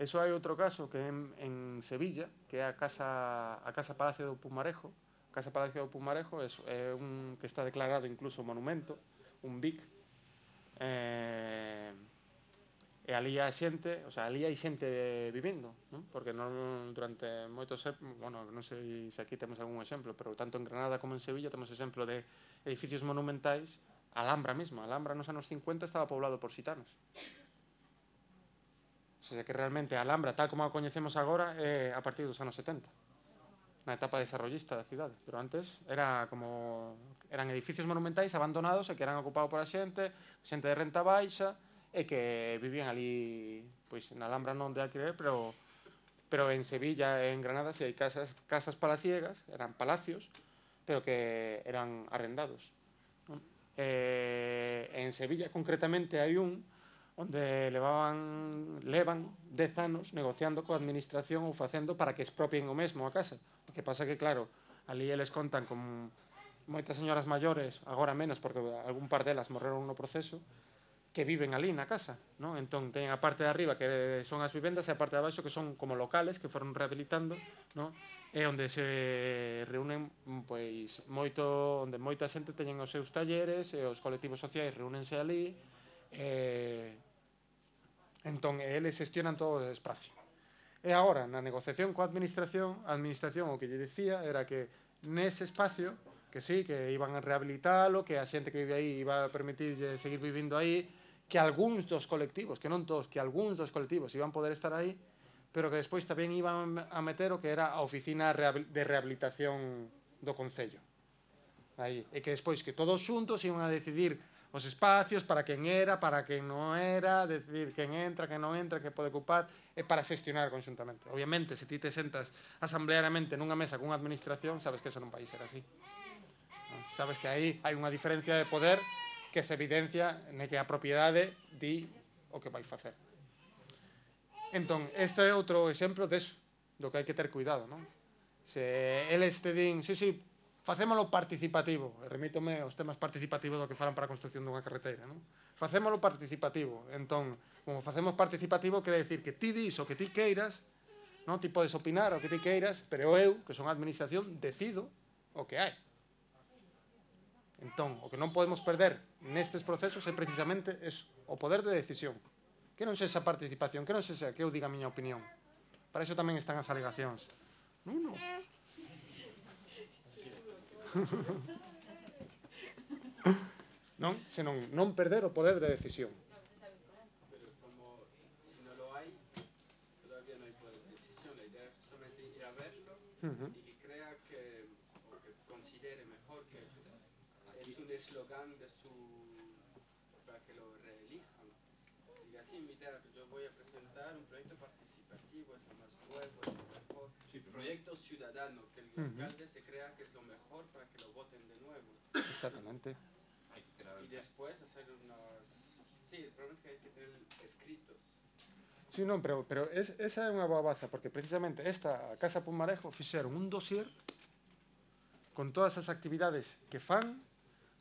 Eso hai outro caso que é en, en Sevilla, que é a Casa, a Casa Palacio do Pumarejo. A Casa Palacio do Pumarejo é, é un que está declarado incluso monumento, un B I C. Eh, e ali a xente, o sea, ali hai xente vivindo, non? Porque non, durante moitos, bueno, non sei se aquí temos algún exemplo, pero tanto en Granada como en Sevilla temos exemplo de edificios monumentais. Alhambra mesmo, Alhambra nos anos cincuenta estaba poblado por xitanos. O sea, que realmente a Alhambra, tal como a coñecemos agora, é a partir dos anos setenta, na etapa desarrollista da cidade. Pero antes era como eran edificios monumentais abandonados e que eran ocupados por a xente, xente de renta baixa, e que vivían ali, pois na Alhambra non de alquiler, pero pero en Sevilla e en Granada si hai casas casas palaciegas, eran palacios, pero que eran arrendados, non? Eh, en Sevilla concretamente hai un onde levaban levan dez anos negociando coa administración ou facendo para que expropien o mesmo a casa. O que pasa que, claro, ali eles contan con moitas señoras maiores, agora menos porque algún par delas morreron no proceso, que viven ali na casa, non? Entón, teñen a parte de arriba que son as vivendas e a parte de abaixo que son como locales que foron rehabilitando, non? E onde se reúnen, pois, moito, onde moita xente teñen os seus talleres e os colectivos sociais reúnense ali, e entón, eles xestionan todo o espacio. E agora, na negociación coa administración, a administración o que lle dicía era que nese espacio, que sí, que iban a rehabilitalo, que a xente que vive aí iba a permitirlle seguir vivindo aí, que algúns dos colectivos, que non todos, que algúns dos colectivos iban poder estar aí, pero que despois tamén iban a meter o que era a oficina de rehabilitación do Concello. Aí. E que despois que todos xuntos iban a decidir os espacios para quen era, para quen non era, decidir quen entra, quen non entra, que pode ocupar, e para xestionar conxuntamente. Obviamente, se ti te sentas asambleariamente nunha mesa cunha administración, sabes que eso non vai ser así. Sabes que aí hai unha diferencia de poder que que se evidencia ne que a propiedade di o que vai facer. Entón, este é outro exemplo deso, do que hai que ter cuidado, non? Se eles te din, sí, sí, facémolo participativo, e remítome aos temas participativos do que falan para a construcción dunha carreteira, non? Facémolo participativo, entón, como facemos participativo, quere decir que ti dis o que ti queiras, non? Ti podes opinar o que ti queiras, pero eu, que son a administración, decido o que hai. Entón, o que non podemos perder nestes procesos é precisamente eso, o poder de decisión. Que non sexa participación, que non sexa que eu diga a miña opinión. Para iso tamén están as alegacións. Non, non. Non, senón non perder o poder de decisión. Pero como si no lo hay, todavía no hay poder de decisión. La idea es justamente ir a verlo Uh-huh. y que crea que, o que considere mejor que es un eslogan de su, para que lo reelijan. Y así invitar, yo voy a presentar un proyecto participativo, es lo más nuevo, es lo mejor. Sí, pero Proyecto ciudadano, que el Ujú. alcalde se crea que es lo mejor para que lo voten de nuevo. Exactamente. hai que crear Y el después hacer unos... Sí, el problema es que hay que tener escritos. Sí, non, pero, pero es, esa é unha boa baza, porque precisamente esta a Casa Pumarejo fixeron un dossier con todas as actividades que fan,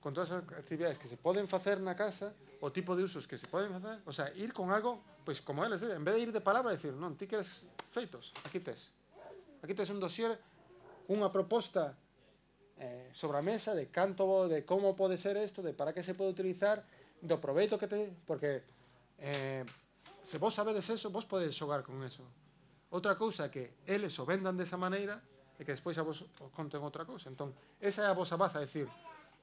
con todas as actividades que se poden facer na casa, o tipo de usos que se poden facer, o sea, ir con algo, pois como eles dicen, en vez de ir de palabra, decir, non, ti queres feitos, aquí tes. Aquí tes un dossier, unha proposta eh, sobre a mesa de canto, de como pode ser isto, de para que se pode utilizar, do proveito que te... Porque eh, se vos sabedes eso, vos podedes xogar con eso. Outra cousa é que eles o vendan desa maneira e que despois a vos o conten outra cousa. Entón, esa é a vosa baza, é dicir,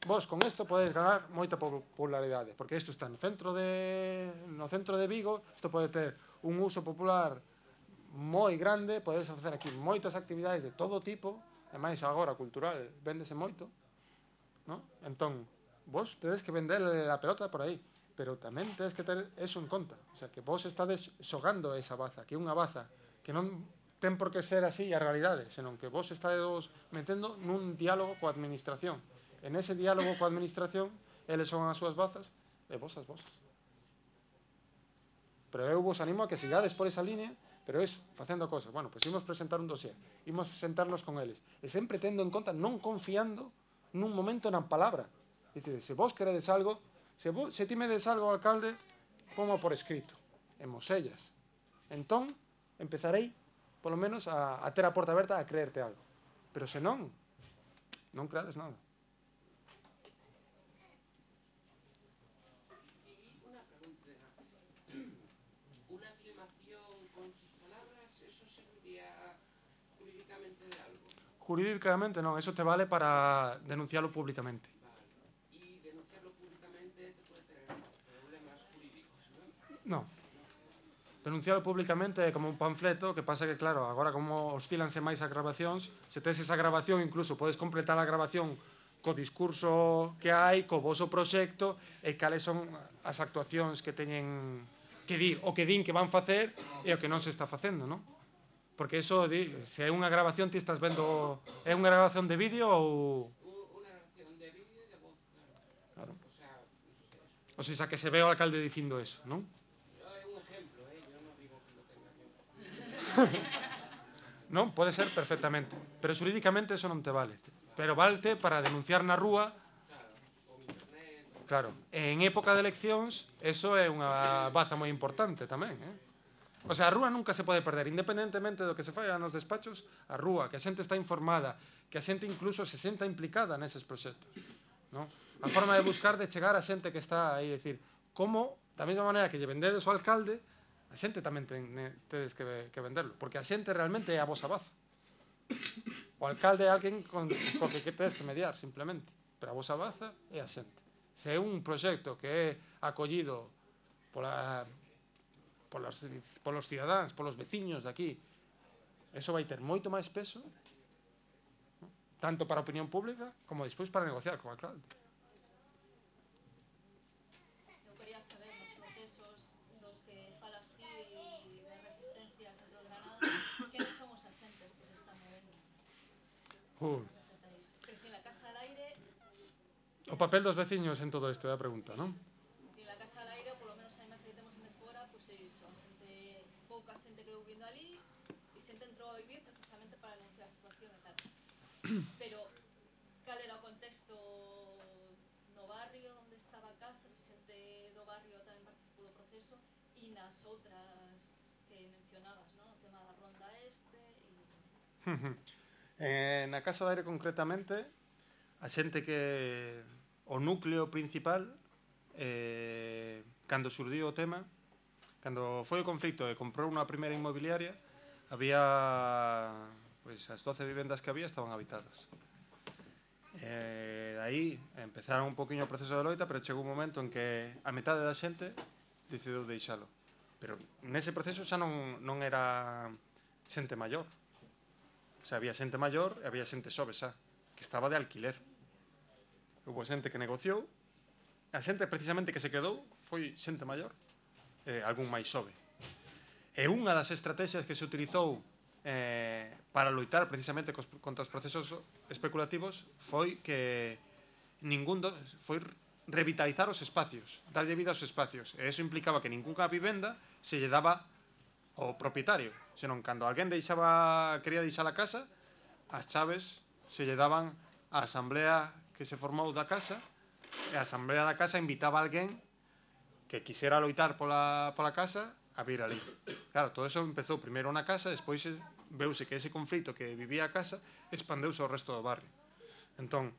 vos con isto podedes ganar moita popularidade, porque isto está no centro de no centro de Vigo, isto pode ter un uso popular moi grande, podedes facer aquí moitas actividades de todo tipo, e máis agora cultural, véndese moito, ¿no? Entón, vos tedes que vender a pelota por aí, pero tamén tedes que ter eso en conta, o sea, que vos estades xogando esa baza, que é unha baza que non ten por que ser así a realidade, senón que vos estades metendo nun diálogo coa administración. En ese diálogo coa administración, eles son as súas bazas e vos as vosas. Pero eu vos animo a que sigades por esa línea, pero eso, facendo cosas. Bueno, pois imos presentar un dossier, imos sentarnos con eles, e sempre tendo en conta, non confiando nun momento na palabra. Dicide, se vos queredes algo, se, vos, se ti me des algo ao alcalde, pongo por escrito, en mosellas. Entón, empezarei, polo menos, a, a ter a porta aberta a creerte algo. Pero se non, non creades nada. Una pregunta. Una filmación con sus palabras, ¿eso serviría jurídicamente de algo? Jurídicamente non, eso te vale para denunciarlo públicamente. Vale. Y denunciarlo públicamente te puede tener problemas jurídicos, No. ¿no? Denunciarlo públicamente é como un panfleto, que pasa que, claro, agora como oscilanse máis as grabacións, se tes esa grabación, incluso podes completar a grabación co discurso que hai, co voso proxecto, e cales son as actuacións que teñen que dir, o que din que van facer e o que non se está facendo, non? Porque eso, di, se é unha grabación, ti estás vendo... É unha grabación de vídeo ou... Una grabación de vídeo y de voz, claro. Claro. O sea, pues eso. O sea, que se ve o alcalde dicindo eso, non? Es un ejemplo, ¿eh? Yo no digo que lo tenga yo. Non, pode ser perfectamente. Pero xurídicamente eso non te vale. Pero valte para denunciar na rúa. Claro, o internet. Claro, en época de eleccións, eso é unha baza moi importante tamén, eh? O sea, a rúa nunca se pode perder, independentemente do que se faiga nos despachos, a rúa, que a xente está informada, que a xente incluso se senta implicada neses proxectos, non? A forma de buscar de chegar a xente que está aí, decir, como, da mesma maneira que lle vendedes ao alcalde, a xente tamén ten, tedes que, que venderlo, porque a xente realmente é a vosa baza. O alcalde é alguén con, con que tedes que mediar, simplemente, pero a vosa baza é a xente. Se é un proxecto que é acollido pola... Polos, polos cidadáns, polos veciños de aquí, eso vai ter moito máis peso, ¿no? Tanto para a opinión pública como despois para negociar co alcalde. Eu quería saber nos procesos dos que falas ti e de resistencias entre os ganados, quenes son os axentes que se están movendo? Uh, Quer decir, la Casa al Aire, O papel dos veciños en todo isto é a pregunta, non? En la casa al aire, polo menos a imaxe que temos de fora, pois é iso, a xente, pouca xente que vivindo ali, e xente entrou a vivir precisamente para denunciar a situación e tal. Pero, cal era o contexto no barrio onde estaba a casa, se xente do barrio tamén participou do proceso, e nas outras que mencionabas, non? O tema da ronda este e... eh, na casa do aire concretamente, a xente que o núcleo principal, eh, cando surdiu o tema, cando foi o conflicto e comprou unha primeira inmobiliaria, había, pois, as doce vivendas que había estaban habitadas. Eh, aí empezaron un poquinho o proceso de loita, pero chegou un momento en que a metade da xente decidiu deixalo. Pero nese proceso xa non, non era xente maior. O sea, había xente maior e había xente xove xa, que estaba de alquiler. Houve xente que negociou, a xente precisamente que se quedou foi xente maior, e algún máis xove. E unha das estrategias que se utilizou eh, para loitar precisamente cos, contra os procesos especulativos foi que ningún do, foi revitalizar os espacios, darlle vida aos espacios. E eso implicaba que ningunha vivenda se lle daba ao propietario, senón cando alguén deixaba, quería deixar a casa, as chaves se lle daban á asamblea que se formou da casa, e a asamblea da casa invitaba a alguén que quixera loitar pola, pola casa a vir ali. Claro, todo eso empezou primeiro na casa, despois veuse que ese conflito que vivía a casa expandeuse ao resto do barrio. Entón,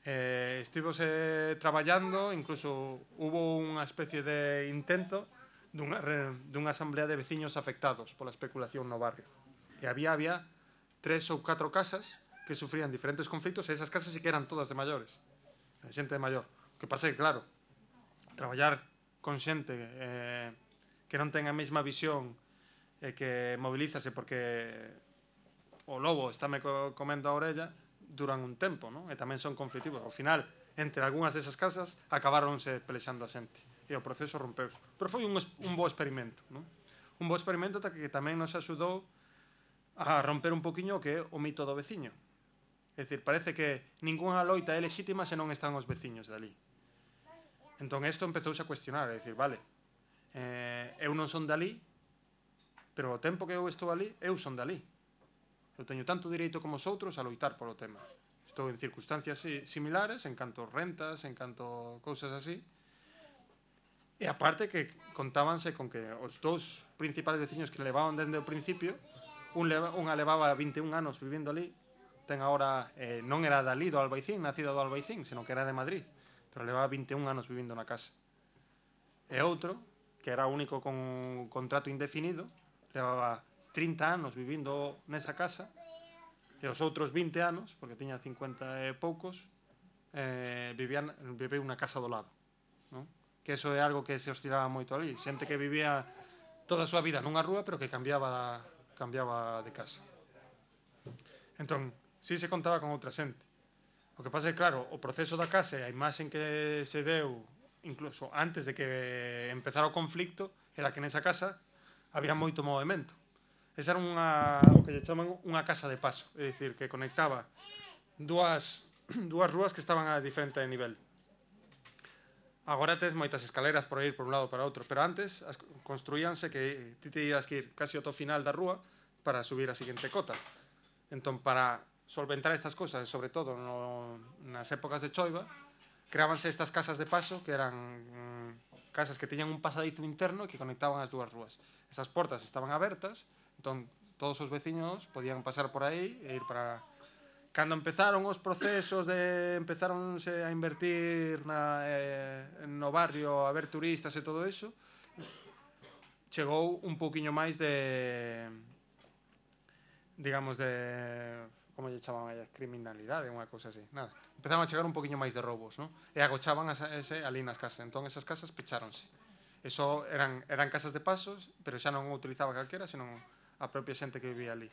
eh, estivose traballando, incluso hubo unha especie de intento dunha, dunha asamblea de veciños afectados pola especulación no barrio. E había, había tres ou catro casas que sufrían diferentes conflitos, e esas casas sí que eran todas de maiores, de xente de maior. O que pasa é que, claro, traballar con xente eh, que non ten a mesma visión e que movilízase porque o lobo estáme comendo a orella duran un tempo, non? E tamén son conflitivos. Ao final, entre algunhas desas casas acabaronse pelexando a xente e o proceso rompeuse. Pero foi un, un bo experimento, non? Un bo experimento que tamén nos axudou a romper un poquinho o que é o mito do veciño. É dicir, parece que ningunha loita é lexítima se non están os veciños dali. Entón, isto empezouse a cuestionar, é dicir, vale, eh, eu non son dali, pero o tempo que eu estou ali, eu son dali. Eu teño tanto direito como os outros a loitar polo tema. Estou en circunstancias similares, en canto rentas, en canto cousas así. E aparte que contábanse con que os dous principales veciños que levaban dende o principio, un leva, unha levaba vinte e un anos vivindo ali, ten agora, eh, non era dali do Albaicín, nacida do Albaicín, senón que era de Madrid, pero levaba vinte e un anos vivindo na casa. E outro, que era o único con contrato indefinido, levaba trinta anos vivindo nesa casa, e os outros vinte anos, porque tiña cincuenta e poucos, eh, vivían, viveu na casa do lado, non? Que eso é algo que se oscilaba moito ali, xente que vivía toda a súa vida nunha rúa, pero que cambiaba, cambiaba de casa. Entón, si se contaba con outra xente. O que pasa é, claro, o proceso da casa e a imaxen que se deu, incluso antes de que empezara o conflicto, era que nesa casa había moito movimento. Esa era unha, o que lle chaman unha casa de paso, é dicir, que conectaba dúas, dúas rúas que estaban a diferente nivel. Agora tes moitas escaleras por ir por un lado para outro, pero antes as construíanse que ti te ibas que ir casi ao final da rúa para subir a seguinte cota. Entón, para solventar estas cosas, sobre todo no, nas épocas de choiva, creábanse estas casas de paso que eran mm, casas que tiñan un pasadizo interno e que conectaban as dúas rúas. Esas portas estaban abertas, entón todos os veciños podían pasar por aí e ir para... Cando empezaron os procesos de empezaronse a invertir na, eh, no barrio, a ver turistas e todo eso, chegou un pouquiño máis de... digamos de... como lle chamaban a criminalidade, unha cousa así, nada. Empezaron a chegar un poquinho máis de roubos, ¿no? E agochaban a ese, ali nas casas, entón esas casas pecháronse. Eso eran, eran casas de pasos, pero xa non o utilizaba calquera, senón a propia xente que vivía ali.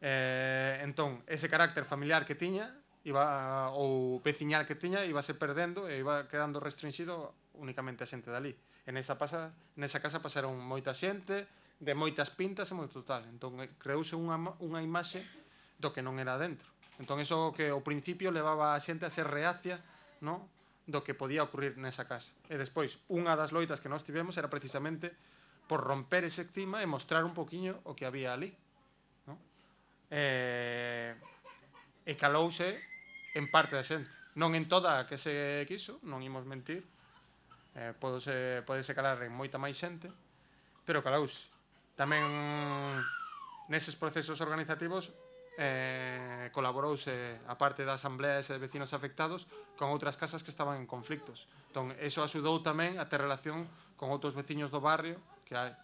Eh, entón, ese carácter familiar que tiña, iba, ou veciñal que tiña, iba se perdendo e iba quedando restringido únicamente a xente dali. En esa, pasa, nesa casa pasaron moita xente, de moitas pintas e moito total. Entón, creouse unha, unha imaxe do que non era dentro. Entón, iso que ao principio levaba a xente a ser reacia no? Do que podía ocurrir nesa casa. E despois, unha das loitas que nós tivemos era precisamente por romper ese clima e mostrar un poquinho o que había ali, no? E, e calouse en parte da xente, non en toda a que se quiso, non imos mentir, eh, podese, podese calar en moita máis xente, pero calouse. Tamén neses procesos organizativos eh, colaborouse a parte da asambleas e de vecinos afectados con outras casas que estaban en conflictos. Entón, eso axudou tamén a ter relación con outros veciños do barrio que hai.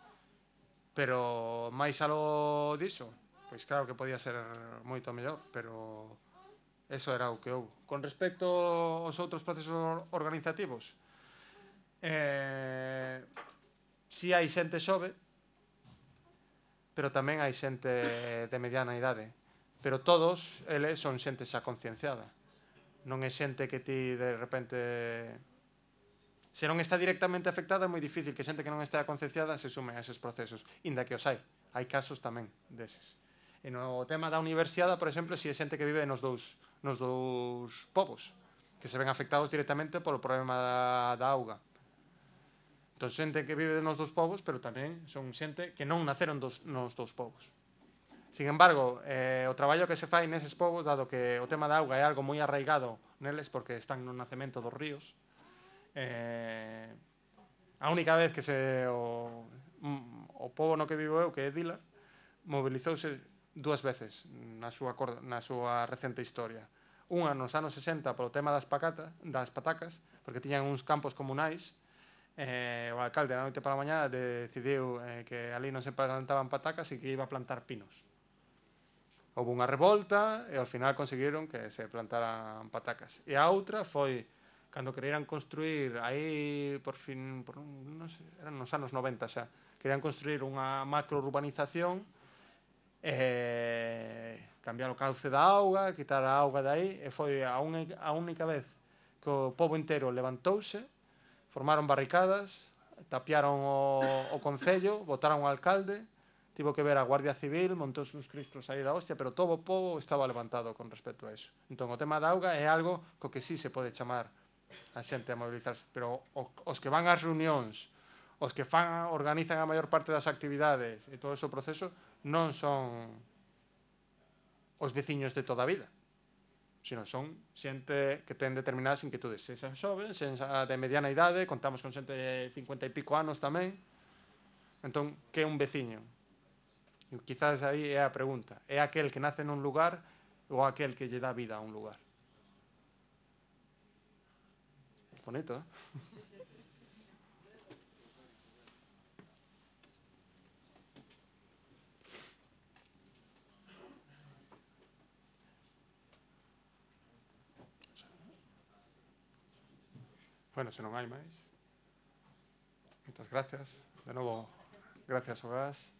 Pero máis algo diso, pois claro que podía ser moito mellor, pero eso era o que houve. Con respecto aos outros procesos organizativos, eh, si hai xente xove, pero tamén hai xente de mediana idade. Pero todos eles son xente xa concienciada. Non é xente que ti de repente... Se non está directamente afectada é moi difícil que xente que non está concienciada se sume a eses procesos. Inda que os hai. Hai casos tamén deses. E no tema da universidade, por exemplo, si é xente que vive nos dous, nos dous povos, que se ven afectados directamente polo problema da, da auga. Entón, xente que vive nos dous povos, pero tamén son xente que non naceron dos, nos dous povos. Sin embargo, eh, o traballo que se fai neses povos, dado que o tema da auga é algo moi arraigado neles, porque están no nacemento dos ríos, eh, a única vez que se o, o povo no que vivo eu, que é Dila, mobilizouse dúas veces na súa, na súa recente historia. Unha nos anos sesenta polo tema das, pacata, das patacas, porque tiñan uns campos comunais. Eh, o alcalde na noite para a mañá decidiu eh, que ali non se plantaban patacas e que iba a plantar pinos. Houve unha revolta e ao final conseguiron que se plantaran patacas. E a outra foi cando querían construir aí por fin, por, non sei, eran nos anos noventa xa, querían construir unha macrourbanización e cambiar o cauce da auga, quitar a auga de aí, e foi a, un, a única vez que o pobo inteiro levantouse, formaron barricadas, tapiaron o, o concello, botaron o alcalde, tivo que ver a Guardia Civil, montouse uns cristos aí da hostia, pero todo o povo estaba levantado con respecto a eso. Entón, o tema da auga é algo co que sí se pode chamar a xente a mobilizarse, pero os que van ás reunións, os que fan, organizan a maior parte das actividades e todo ese proceso non son os veciños de toda a vida, sino son xente que ten determinadas inquietudes. Se xa xoven, se xa de mediana idade, contamos con xente de cincuenta e pico anos tamén. Entón, que é un veciño? E quizás aí é a pregunta. É aquel que nace nun lugar ou aquel que lle dá vida a un lugar? Bonito, eh? Bueno, se non hai máis. Moitas gracias. De novo, gracias ao gas.